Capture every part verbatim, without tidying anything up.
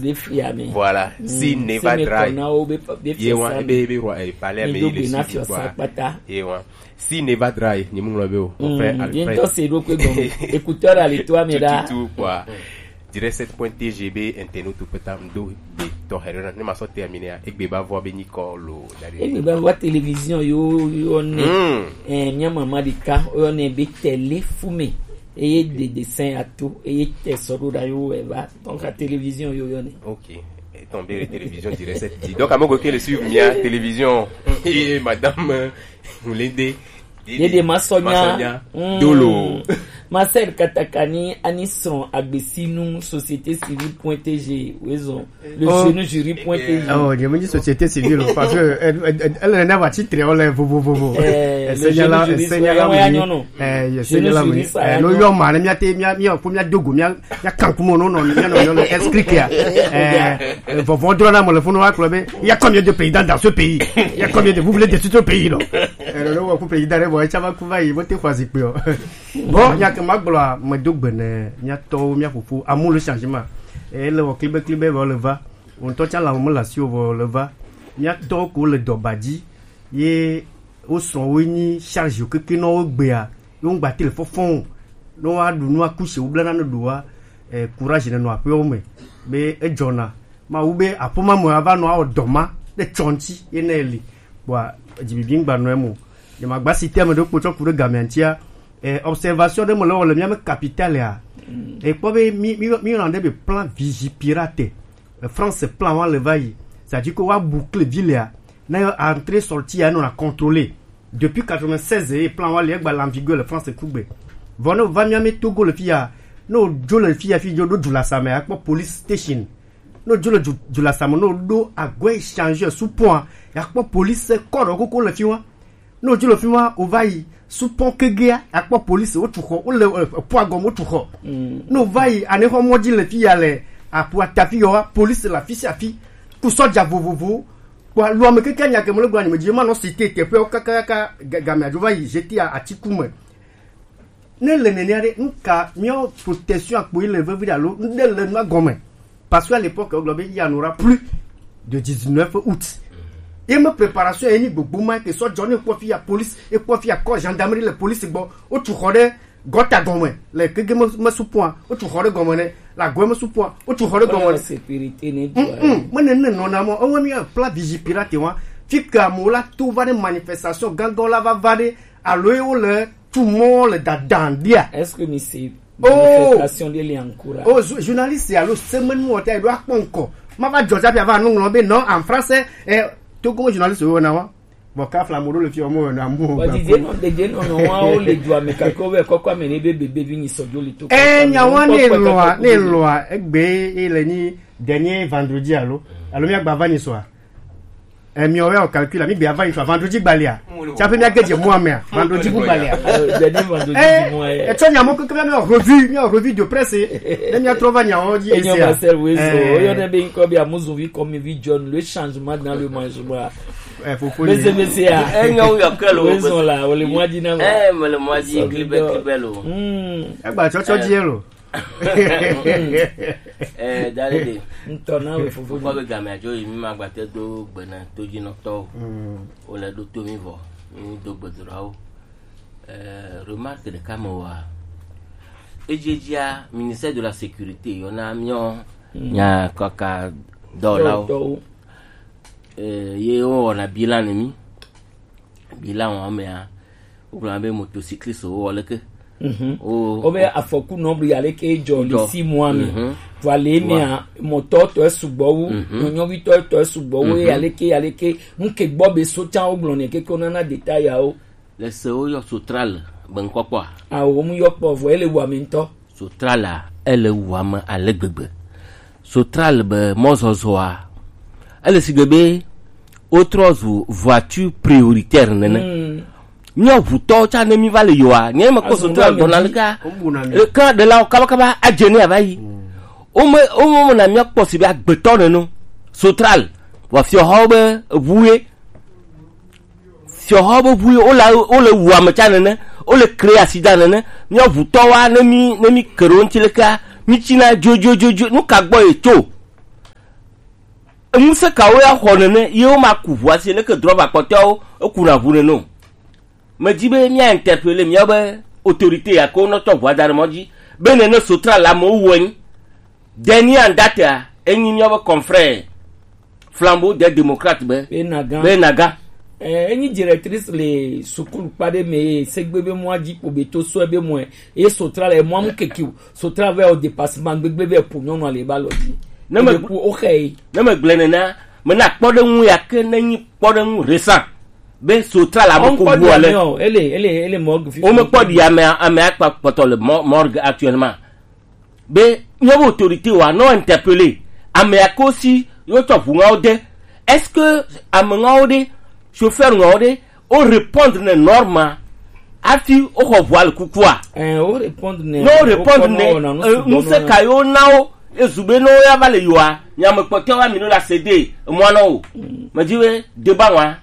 Ɖe fia mi. Voilà. Si Neva Dry. Ye wa ebe ebe roi eh, palais mi le suivi quoi. Ye wa. Si Neva Dry ni mu ŋlɔ be o. Ɔfɛ Alfred. Ye ŋutɔ se ɖo kpe gɔme. Écouteur la le to ame ɖa. Tututu quoi. Direct sept point T G be internet to peta ŋdo be tɔ hɛrɛ na ne ma sɔ terminer a egbe ba vɔ be nyikɔ lo dari. Egbe ba vɔ télévision yo yo ne. Eh, mia mama ɖeka yo ne be télé fu me. Eye de dessin ato eye tɛ sɔ ɖo ɖa yo eva. Donc la télévision yo yo ne. Ok. Étant bien les télévisions direct sept dit. Donc à mon côté le suivre mia télévision et madame Mulinde. Dede Masonya. Masonya. Dolo. Marcel Katakani ani srɔn agbesinu société civile point T G wezɔn le jeune jury point T G. Oh, je me dis société civile parce que elle, elle, elle n'a pas titre on les vovo vovo. Eh, le jeune jury, eh, Seigneur là, eh, Seigneur là, eh, no yo ma ne mia te mia mia ko mia dogo mia mia kankumo no no mia no yo le escrikia. Eh, vovo dro na mo le funu wa klo be. Il y a combien de présidents dans ce pays? Il y a combien de vous voulez détruire ce pays non? Eh, le wa ku président re bo e chama ku va yi bo te kwa zikpe o. Bon, nya ke ma gblɔ a, medo gbe ne mia tɔwo, mia fofo, amu le changement. E le wɔ klibe klibe vɔ le va. Wo ŋutɔ tsã la mo la si wo vɔ le va. Mia tɔwo ko le dɔba dzi. Ye wo srɔ̃wo nyi charge keke nɔ wo gbea. Yo ŋgba te le fɔfɔn o. Ne wa ɖu nu aku se wo bla na ne ɖu wa. Eh, courage ne nɔ aƒewo me. Be edzɔna. Mawu be aƒema me ava nɔ awɔ dɔ ma ɖe tsɔ ŋuti ye ne li. Kpɔa dzibibi ŋgba nɔ emo. Nyemagba système ɖe kpotsɔ ku ɖe gamea ŋutia. Eh, observation ɖe me le wɔ le mía me capitale a. Ekpɔ be mi mi mi yɔna ɖe be plan Vigipirate. Eh, France plan wa le va yi. C'est-à-dire que wa boucle ville a. Na yo entrée sortie a nɔ na contrôler. Depuis quatre-vingt-seize ye plan wa le egba la en vigueur le France kugbe. Vɔ ne va mía me Togo le fia. Ne o dzo le fia fi dzo ɖo du la same akpɔ police station. Ne o dzo le du, du la same ne o ɖo agwe échangeur sous pont a. Akpɔ police kɔ ɖe koko le fi wa. Ne wòdzo le fi ma, wòva yi sous pont kegea, akpɔ police, wotu xɔ, wole eh, ƒua gɔme, wotu xɔ. Ne wòva yi anexɔ mɔ dzi le fi ya le aƒua ta fi ya wa, police le afi sia afi, ku sɔdza vovovowo. Kpɔ luame keke nya ke mele gblɔ anyime dzi, ma nɔ cité teƒewo kakakaka ga- gamea dzo va yi jeté atiku me. Ne le nenea ɖe, nuka míawo protection akpo yi le vevi alo nuɖe le nua gɔme? Parce que à l'époque wogblɔ be il y en aura plus de dix-neuf août. Ye me préparation ye nyi gbogbo ma ke sɔ dzɔ ne kpɔ fi ya police, e kpɔ fi ya kɔ gendarmerie le police gbɔ, wotu xɔ ɖe gɔta gɔme le keke me me supɔa, wotu xɔ ɖe gɔme ne la gɔme me supɔa, wotu xɔ ɖe gɔme ne. Sécurité ne. Mm, mm, me ne ne nɔna mɔ, ewe mi plan Vigipirate wa. Fi ke amewo la to va ɖe manifestation gãgã la va va ɖe alo ye wo le tu mɔ le dadan dia. Est-ce que mi se Oh! Manifestation de li en cours? Oh, journaliste alo semaine mo ta do akpɔ nkɔ. Ma va jɔ jabi ava nu ŋlɔ be non en français eh to ko journaliste wo na wa. Bon ka fla mo do le fi o mo na mo. Ba di de non de de non non wa o le du ame ka ko be ko kwa me ne be be be bi ni so jo li to. Eh nya wa ne lwa ne lwa egbe e le ni dernier vendredi alo. Alo mi agba va ni so a. Eh, mi ɔwɛ o calcul la mi gbe ava ŋutsu vendredi gbalia. Tsaƒe mi age dze mua mea vendredi bu gbalia. Dede vendredi di mua ye. Etsɔ nya mo keke mi revue mi revue de presse. Ne mi atrɔ va nya o dzi esia. Enyo Marcel Wezo oyo ne be nkɔ bi amuzuvi kɔmi vi John le changement dans le management. Eh fofo ni. Bese bese ya. Enyo yo kelo. Wezo la o le mwa di na. Eh me le mwa di klibe klibe lo. Hmm. Egba tsɔtsɔ dzi lo. Eh, Dalede. Ŋutɔ na wò fofo. Kpɔ be game adzo yi mi ma gbate do gbe na todzinɔtɔwo. Wole ɖo to mi vɔ, mi do gbedoɖawo. Eh, remarque ɖeka me wa. Edziedzia, ministère de la sécurité yɔna miɔ nya kɔka dɔwɔlawo. Dɔwɔlawo. Eh, ye wowɔna bilan ne mi. Bilan wa mea, wogblɔna be motocycliste wo leke. Mhm. Wo be afɔku nɔ bli aleke dzɔ le six mois me. Mhm. Vɔ le mea mɔtɔ tɔ sugbɔ wu, nyɔnyɔvi tɔ tɔ sugbɔ wu, aleke aleke nuke gbɔ be so tsa wo gblɔ ne keke wo nana détail ya wo. Le se wo yɔ sotral be ŋkɔkpɔ a? Awo mu yɔ kpɔ vɔ ele wa me ŋutɔ. Sotral a ele wa me ale gbegbe. Sotral be mɔzɔzɔa ele sigbe be wotrɔ zu voiture prioritaire nene. Míawo ʋutɔwo tsã ne mí va le yɔa, nye mekpɔ sotral dɔna le ka. Eka ɖelawo kabakaba adze ne ava yi. Wome wome na míakpɔ si be agbetɔ nene sotral wa fiɔhawo be eʋu ye. Fiɔhawo be ʋu ye wole wole wu ame tsã nene, wole kre asi da nene. Míawo ʋutɔwoa ne mí ne mí ke ɖe wo ŋuti leke mí tsina dzodzodzodzo nu ka gbɔ ye tso? Ŋusẽ kawo ya xɔ nene ye woma ku ʋua si leke drɔba kpɔtɔewo ekuna ʋu nene o. Medi be mía interpeller míawo be autorité ya ke wonɔ tsɔ ʋua da ɖe mɔ dzi be nene Sotra le amewo wu enyi. Deni Andatea enyi míawo be confrère Flambeau des Démocrates be be Naga. Be Naga. Eh, enyi directrice le sukulu kpa ɖe me ye segbe be mɔa dzi kpo be to sɔe be mɔe ye Sotra le mɔa mu keke o. Sotra vɛ o dépassement gbegbe vɛ po nyɔnu ale ba lɔ dzi. Ne me Ebe ku o xe yi. Ne me gblẽ nena, mena kpɔɖeŋu ya ke ne nyi kpɔɖeŋu récent be Sotra la me ko wu ale. Ele ele ele mɔ gfi. Wo me kpɔ ɖi ame ame akpa kpɔtɔ le mɔ- morgue actuellement. Be míaƒe autorité wa nɔ interpeller ame ya ke wosi yewotsɔ ʋu ŋawo de. Est-ce que ame ŋawo ɖe, chauffeur ŋawo ɖe, wo répondre ne norme hafi woxɔ ʋua le kukua? Ɛ, wo répondre ne. Ne wo répondre ne, ɛ, ŋusẽ ka yewo na wo? Ezu be ne woya va le yoa, nya ame kpɔtɔewo ami no la se de emɔa nɔ wo. Medi be deba wa.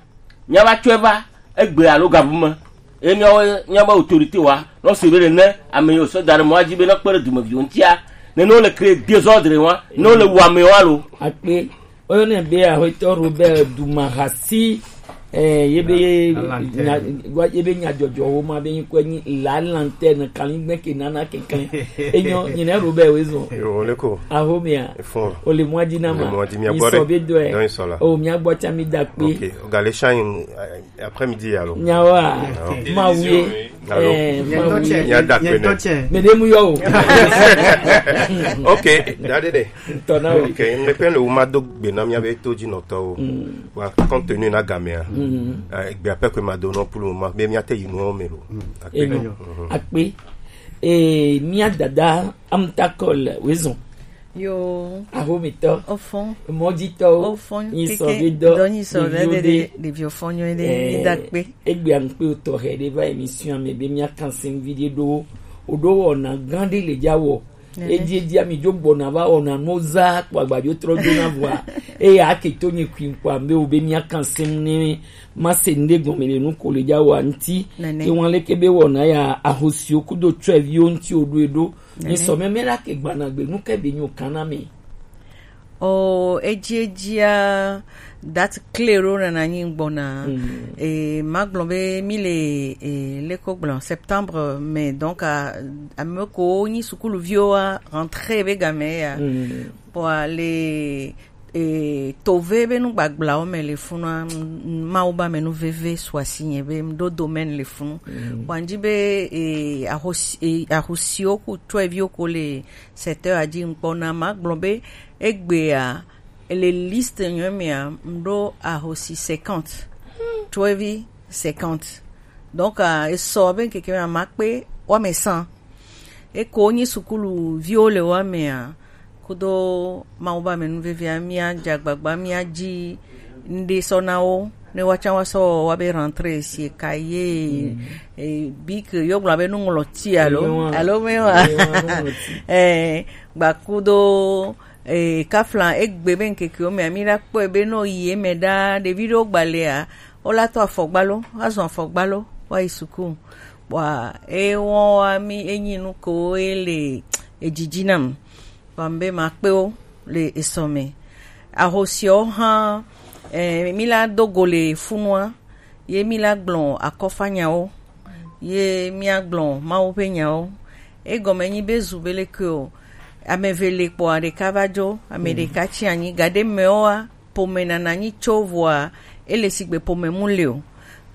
Míava tsɔe va egbe alo gabu me. Eye míawo míabe autorité wa nɔ se be nene ame yiwo sɔ da ɖe mɔa dzi be nɔ kpe ɖe dumeviwo ŋutia, nene wole créer désordre wa, ne wole wu amewo alo. Akpe, woyɔnɛ be aƒetɔ Robert Dumahasi, eh, ye be nya- wa- ye be nyadzɔdzɔwo ma be ŋkɔe nyi la lanterne kaligbɛ ke nana keklẽ. Enyo, nyine Robert woezɔ. Yo, ole ko. Ahomia. Efo. Ole mɔa dzi na ma. Ole mɔa dzi, mia gbɔ ɖe. Isɔ be dɔe. Dɔn isɔ la. O, mia gbɔ tsa mi da kpe. Ok. Gale shine, eh, après-midi, alors. Nyawa. Ah, ok. Ma wuye. Allô? Eh, ma wuye. Mia da kpe ne. Mede mu yo. Ok, da de de. Tɔna o. Ok, ne pe le wo ma do gbe na mia be to dzi nɔtɔwo. Wa compte tenu na gamea. Eh, gbe ape ko ma do no pour le moment, be mia te yi no me lo. Akpe. Enyo. Akpe. Eh, mia dada Amtakol woezɔ. Yo. Ahomitɔ. Ofɔn. Mɔdzitɔwo. Ofɔn. Nyisɔvedɔ. Dɔ nyisɔvedɔ ɖeviwo de ɖe ɖeviwo fɔnyɔ ɖe. Eh, da kpe. Egbe aŋkpe tɔxɛ ɖe va émission me be mia kansin vi ɖe ɖo. Oɖo wɔna gã ɖe le dza wɔ. Edzi edzi ami dzo gbɔna va wɔna no za kpɔ agbadzo trɔ do na vɔa. Eye ake to nye kui kpɔ ambe wo be mia kansin ne ma se nde gɔme le nu ko le dza wɔ ŋti. Ewan leke be wɔna ya ahosiwo kudo tsɔeviwo ŋti wo ɖo eɖo. Ni sɔ mɛmɛ la ke gbanagbe nu ke be nyo kana mi. O edzi edzia date clé ɖo nana nyi gbɔna. E magblɔ be mi le e leko gblɔ septembre, mais donc a- ame ko nyi sukuluviwo wa rentrée be game ya. Kpɔa le e tove be nu gbagblãwo me le funua, Mawu ba me nu veve su asi nye be ɖo domaine le funu. Kpɔa ŋdi be e ahosi e ahosiwo ku tsɔeviwo ko le secteur adzi ŋkpɔ na ma gblɔ be egbea le liste nyɔ mea mɖo ahosi cinquante, tsoevi cinquante. Donc esɔ be ŋkeke mea ma kpe woame cent. Eko nyi sukulu viwo le woamea kudo Mawu ba me nu vevia mia dza gbagba mia dzi ŋɖe sɔ na wo ne woatsã woasɔ woabe rentrée si eka ye e, bic yo gblɔ be nuŋlɔti alo alo me wa eh gbakudo e kafla egbe be ŋkekewo mea mi la kpɔe be no yi eme ɖa ɖevi ɖewo gbalea wo la to afɔgba lo azɔ afɔgba lo wa yi suku kpɔa e wɔn wa mi enyi nu ko e le edzidzi nam. Kpam be makpe wo le esɔ me. Ahosiawo hã, eh, mi la do go le funua, ye mi la gblɔ akɔfanyawo, ye mi agblɔ Mawu ƒe nyawo. Egɔme nyi be zu be leke o, ame eve le kpɔa ɖeka va dzo, ame ɖeka tsi anyi, gaɖe mɛwoa, ƒome nana nyi tso vɔa, ele sigbe ƒome mu le o.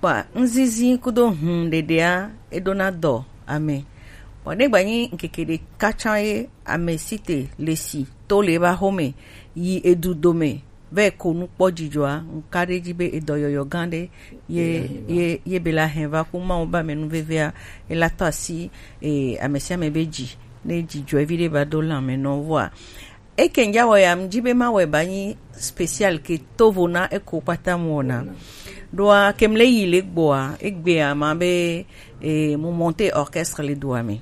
Kpɔa ŋzizi kudo hum ɖeɖea, eɖona dɔ ame. Vɔ ne gbanyi ŋkeke ɖeka tsã ye ame si te le si to le eba xome yi edu dome vɛ ko nu kpɔ dzidzɔa, ŋka ɖe dzi be edɔyɔyɔ gã ɖe ye ye ye be la hɛn va ku Mawu ba me nu vevea, ela tɔ asi e, ame sia ame be dzi ne dzidzɔe vi ɖe ba do lãme nɔ vɔa. Eke ŋdza wɔ ya, ŋdzi be ma wɔ ba nyi spécial ke tovo na eko kpata mu wɔna. Ɖoa ke mle yi le gbɔa, egbea ma be e, mu monte orchestre le dua me.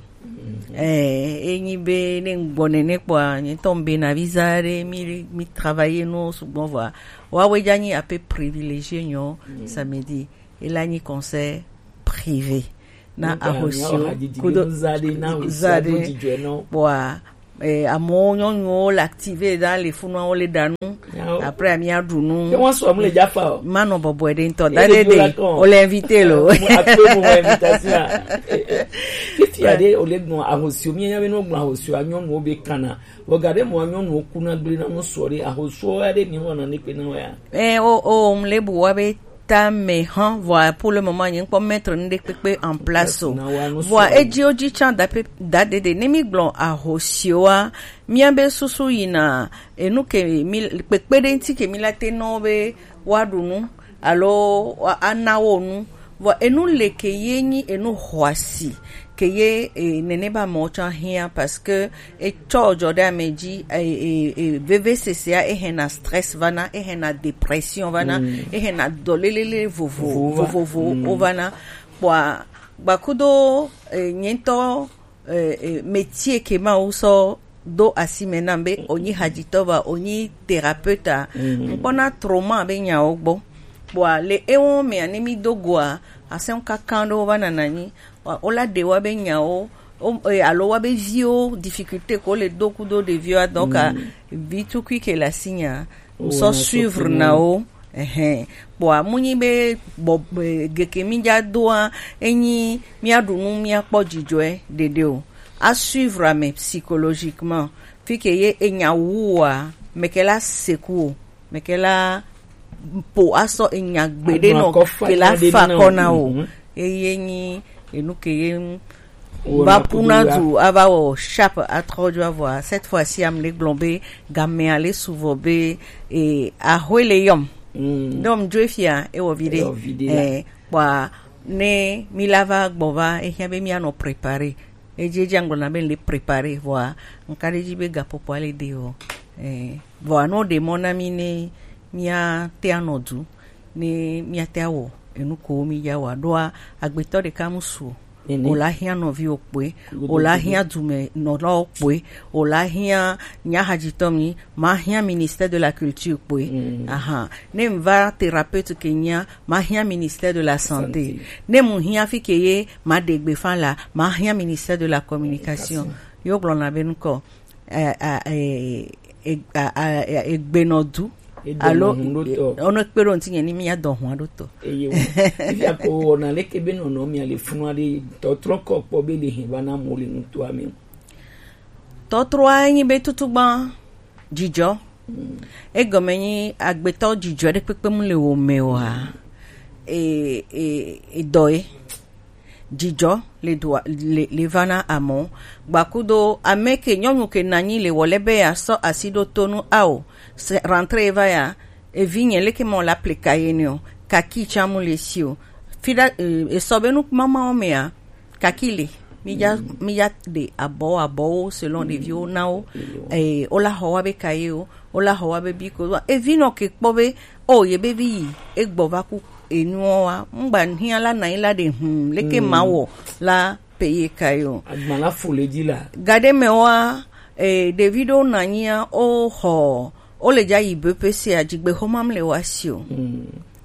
Eh, enyi be ne ŋgbɔ nene kpɔa, nye tɔ be na visa ɖe mi mi travailler no sugbɔ vɔa. Wa we dza nyi ape privilégié nyɔ samedi. Ela nyi concert privé. Na ahosio kudo za ɖe kpɔa Eh, amewo, nyɔnuwo le active ɖa le funua, wo le ɖa nu. Après, ami aɖu nu. Ke wọn sɔ mu le Jaffa o. Ma nɔ bɔbɔe ɖe ŋutɔ. Ye da ɖe ɖe ɖo la kɔn. O le invité lo. Eh, mu akpe mu wɔ invitation. Fifia ɖe o le gbɔn ahosio, mi nya be no gbɔn ahosio, nyɔnuwo be kana. Vɔ ga ɖe mɔ nyɔnuwo kuna gble na no sɔ ɖe ahosio ya ɖe mi wɔna ne kpe na wa ya. Eh, o, o, mu le bu wa be ta me hã, vɔa pour le moment, nye ŋkpɔ mettre nu ɖe kpekpe en place o. Vɔa edzi o dzi tsã da pe-, da ɖeɖe. Ne mi gblɔ ahosiwoa, mía be susu yina enu ke mi kpekpe ɖe ŋuti ke mi la te nɔ be woaɖu nu alo woa-, ana wo nu. Vɔ enu le ke ye nyi enu xɔasi ke ye, e, nene ba mɔ tsã hiã parce que etsɔ dzɔ ɖe ame dzi, e, e, e, vevesesea ehena stress vana, ehena dépression vana, ehena dɔlélélé vovo, vovovowo vana. Kpɔa, gbakudo, e, nye ŋutɔ, e, e, métier ke ma wo sɔ do asi me nam be, onyi hadzitɔ va, onyi thérapeute a, ŋkpɔna trauma be nyawo gbɔ. Kpɔa, le ewo mea, ne mi do goa, asɛn kankan ɖewo va nana nyi, wa-, wola ɖe wa be nyawo, o, e, alo wa be viwo, difficulté ko le do kudo ɖeviwo, donc, a, vi tukui ke le asi nya, ŋsɔ suivre na wo, ehɛn. Kpɔa, mu nyi be bɔ-, e, geke mi dza doa, enyi mia ɖu nu, mia kpɔ dzidzɔe ɖeɖe o. A suivre ame psychologiquement, fi ke ye enya wu wa, meke la seku o. Meke la po asɔ enya gbeɖe nɔ ke la fa kɔ na o. Eye nyi enu ke ye ŋu va puna du ava wɔ sharp atrɔ dzo avɔa. Cette fois-ci, am le gblɔ be game ale suvɔ be, e, ahwe le yɔm. Dɔm dzo efia, ewɔ vi ɖe. Ewɔ vi ɖe la. Eh, kpɔa, ne mi la va gbɔ va, ehia be mi anɔ préparer. Edzi edzi angblɔ na be le préparer, vɔa, nka ɖe dzi be gapopɔ ale de o. Eh, vɔa, no ɖe mɔ na mi ne mia te anɔ du, ne mia te awɔ enu ko mi ya wa ɖoa, agbetɔ ɖeka mu su o. Nene. O la hiã nɔviwo kpoe, o la hiã dumenɔlawo kpoe, o la hiã nyahadzitɔ mi, ma hiã ministère de la culture kpoe. Ahan. Ne m va thérapeute ke nyia, ma hiã ministère de la santé. Santé. Ne mu hiã fi ke ye, ma ɖe gbefa la, ma hiã ministère de la communication. Communication. Yo gblɔ na be nukɔ. Eh, ah, eh, eh, ah, ah, eh, egbenɔdu. Alo, eh, ono kpe ɖo ŋuti nye ni mía dɔ hua ɖo tɔ. Eye wo. Fifia ko wɔna leke be nɔnɔ mia le funu aɖe tɔtrɔ kɔ kpɔ be le hɛn va na mo le nutoa me. Tɔtrɔa nyi be tutugba dzidzɔ. Egɔme nyi agbetɔ dzidzɔ ɖe kpekpe mu le wo me oa. E, e, e dɔ ye. Dzidzɔ le dua, le, le va na amewo. Gbakudo ame ke nyɔnu ke nanyi le wɔle be ya sɔ asi ɖo to nu ao. Se rentrée va ya, evi nye leke mɔ la plika ye ne o. Kaki tsa mu le si o. Fida, eh, esɔ be nu mama wo mea, kaki le. Mi ya, mi ya de abɔ, abɔwo selon ɖeviwo na wo. Eh, o la xɔ wa be kaye o. Wo la xɔ wa be bi ko. Evi nɔ ke kpɔ be, o, ye be vi yi, e gbɔ va ku enuɔ wa. Ŋgba hiã la na yi la ɖe hum, leke ma wɔ la pe ye ka yo. Agba la fo le dzi la. Gaɖe me wa, e, ɖevi ɖewo na nyia, o xɔ, o le dza yi B P C a, dzigbexɔma m le wa si o.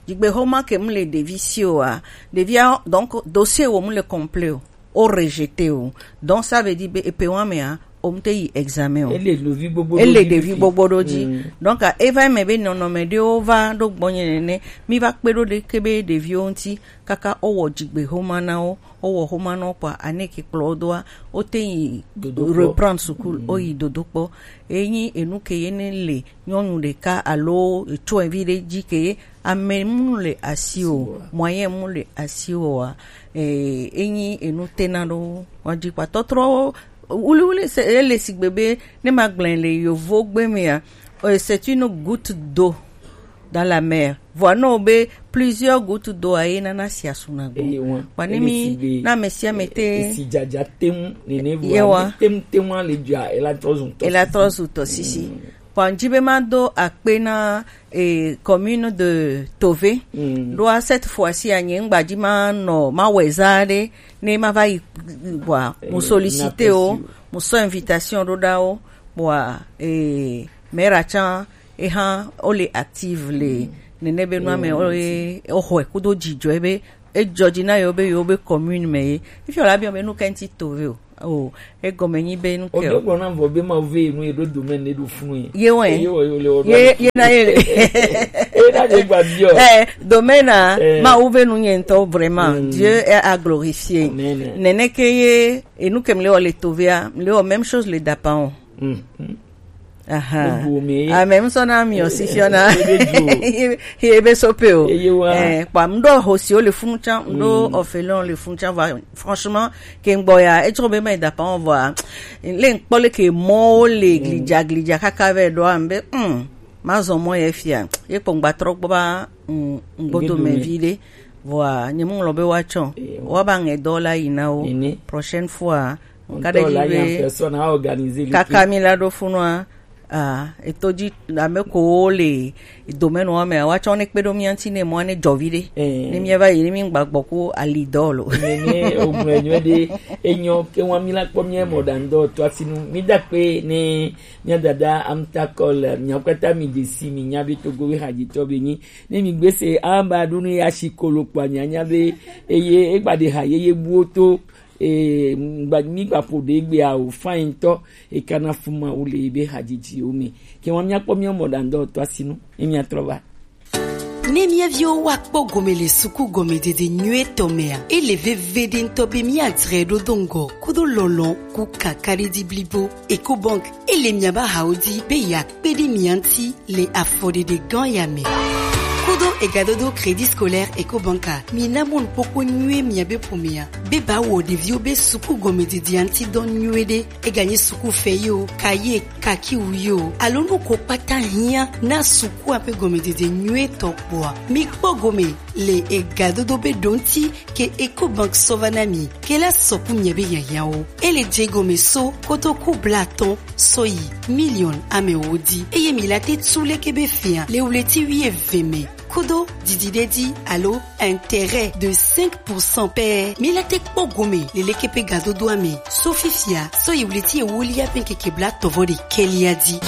Dzigbexɔma ke m le ɖevi si o a, ɖevia, donc, dossier wo m le complet o. O rejeté o. Donc, ça veut dire be epe wa mea, o m te yi examen o. Ele ɖevi gbogbo ɖo dzi. Ele ɖevi gbogbo ɖo dzi. Donc, a, e va me be nɔnɔme ɖewo va ɖo gbɔnye nene. Mi va kpe ɖo ɖe ke be ɖeviwo ŋuti, kaka o wɔ dzigbe xoma na wo, o wɔ xoma na wo kpɔa, ane ke kplɔ wo doa, o te yi reprendre sukulu, o yi dodo kpɔ. E nyi enu ke ye ne le nyɔnu ɖeka alo etsɔevi ɖe dzi ke ye ame mu le asi o, moyen mu le asi o a, eh, enyi enu tena ɖo wa dzi kpa tɔtrɔwo wuliwuli se ele sigbe be ne ma gblẽ le yovo gbe mea, eh, c'est une goutte d'eau dans la mer. Vɔa nɔ be plusieurs gouttes d'eau a ye nana si asu na gbɔ. Eye wa. Kpa ne mi na ame sia ame te. Esi dzadza tem nene vɔa. Yewa. Tem tem wa le dzia ela trɔ zu tɔ. Ela trɔ zu tɔ sisi. Kpɔ ŋdi be ma do akpe na, eh, commune de Tove. Ɖoa cette fois-ci a nye ŋgba dzi ma nɔ ma wɛ za ɖe ne ma va yi kpɔa, eh, mo sollicité wo, mo sɔ invitation ɖo ɖa wo kpɔa, eh, maire tsã eha o le active le nene be nua me o le o xɔe kudo dzidzɔe be Ejɔ dzi na yewo be yewo be commune me ye. Ifi wòle abiɔ be nu ka ŋuti to ve o. O, egɔme nyi be nu ke o. Odo gblɔ na vɔ be ma ve nu ye ɖo domaine ɖe ɖo funu ye. Ye wɛ. Ye wɔ ye le wɔ. Ye, ye na ye le. E na ye gba biɔ. Eh, domaine a, eh, ma wo ve nu nye ŋutɔ vraiment. Mm. Dieu est à glorifier. Amen. Nene ke ye, enu ke mle wɔ le to vea, mle wɔ même chose le dapan o. Mm. Aha. Ame ŋusɔ na mi o si fiɔ na. Ye be sope o. Eh, kpa mɖo ho si o le funu tsan, mɖo orphelin le funu tsan va. Franchement, ke ŋgbɔ ya, etsɔ be ma da pa vɔ a. Le ŋkpɔ le ke mɔ le glidza glidza kaka vɛ ɖo am be, hmm, ma zɔ mɔ ye fia. Ye kpɔ ŋgba trɔ gbɔ ba, hmm, ŋgbodo me vi ɖe. Vɔa, nye mu ŋlɔ be wa tsɔ. Wa ba ŋɛ dɔ la yi na wo. Prochaine fois, ka ɖe dzi be kaka mi la ɖo funua. Ah, eto dzi ame ko le domaine wa me, wa tsɔ ne kpe ɖo mía ŋuti ne mɔ ne dzɔ vi ɖe. Eh. Ne mía va yi, ne mi gba gbɔ ko ali dɔ lo. Ne, ne, o gblɔ nyuie ɖe, enyo ke wa mi la kpɔ mía mɔ ɖa ŋdɔ to asinu. Mi da kpe ne mía dada Amta Cole, mía kpata mi de si mi nya be Togo we haji tɔ be nyi. Ne mi gbe se amba ɖo ne ya si kolo kpa nya nya be, eye egba de ha ye ye buo to. E, mgba-, mi gba ƒo ɖe egbea o, fine ŋutɔ, e kana fu Mawu le ebe hadzidziwo me. Ke wa míakpɔ mía mɔ ɖaŋdɔ tɔ asinu, ye míatrɔ va. Ne mía viwo wa kpɔ gome le suku gɔmedede nyuie tɔ mea, ele veve ɖe ŋutɔ be mía dzre ɖo do ŋgɔ, kudo lɔlɔ, ku kakaɖedzi blibo. Ecobank, ele mía ba hawo di be ya kpe ɖe mía ŋuti le afɔɖeɖe gã ya me. Kudo egadodo Crédit Scolaire Ecobank a, mi na mɔnukpɔkpɔ nyuie mia be ƒomea, be ba wɔ ɖeviwo be suku gɔmededea ŋuti dɔ nyuie ɖe. Eganyi suku fɛ yi o, kaye, kakiwu yi o, alo nu ko kpata hiã na sukua ƒe gɔmedede nyuie tɔ kpɔa, mi kpɔ gome le egadodo be ɖo ŋuti ke Ecobank sɔ va na mi, ke la sɔku miabe hiahiãwo. Ele dze gɔme so kotoku blatɔ̃ sɔ yi miliɔn amewo di. Eye mi la te tu leke be fia le wleti wuieve me. Kudo didi ɖe di alo intérêt de cinq pour cent pɛ. Mi la te kpɔ gome le leke be gadodoa me. So fifia, sɔ yi wleti ewolia be ŋkeke blatɔ̃ vɔ ɖekɛlia di.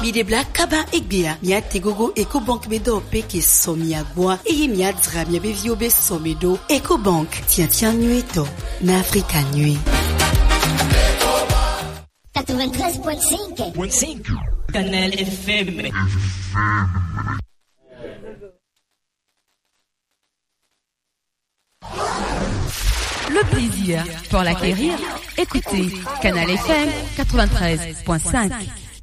Mi ɖe bla kaba egbea, mia te gogo Ecobank be dɔ pe ke sɔ mia gbɔa, eye mia dzra mia be viwo be sɔ me ɖo. Ecobank, tiatia nyuie tɔ na Afrika nyuie. Quatre-vingt-treize point cinq. Canal F M. Le plaisir pour l'acquérir. Écoutez Canal F M quatre-vingt-treize point cinq.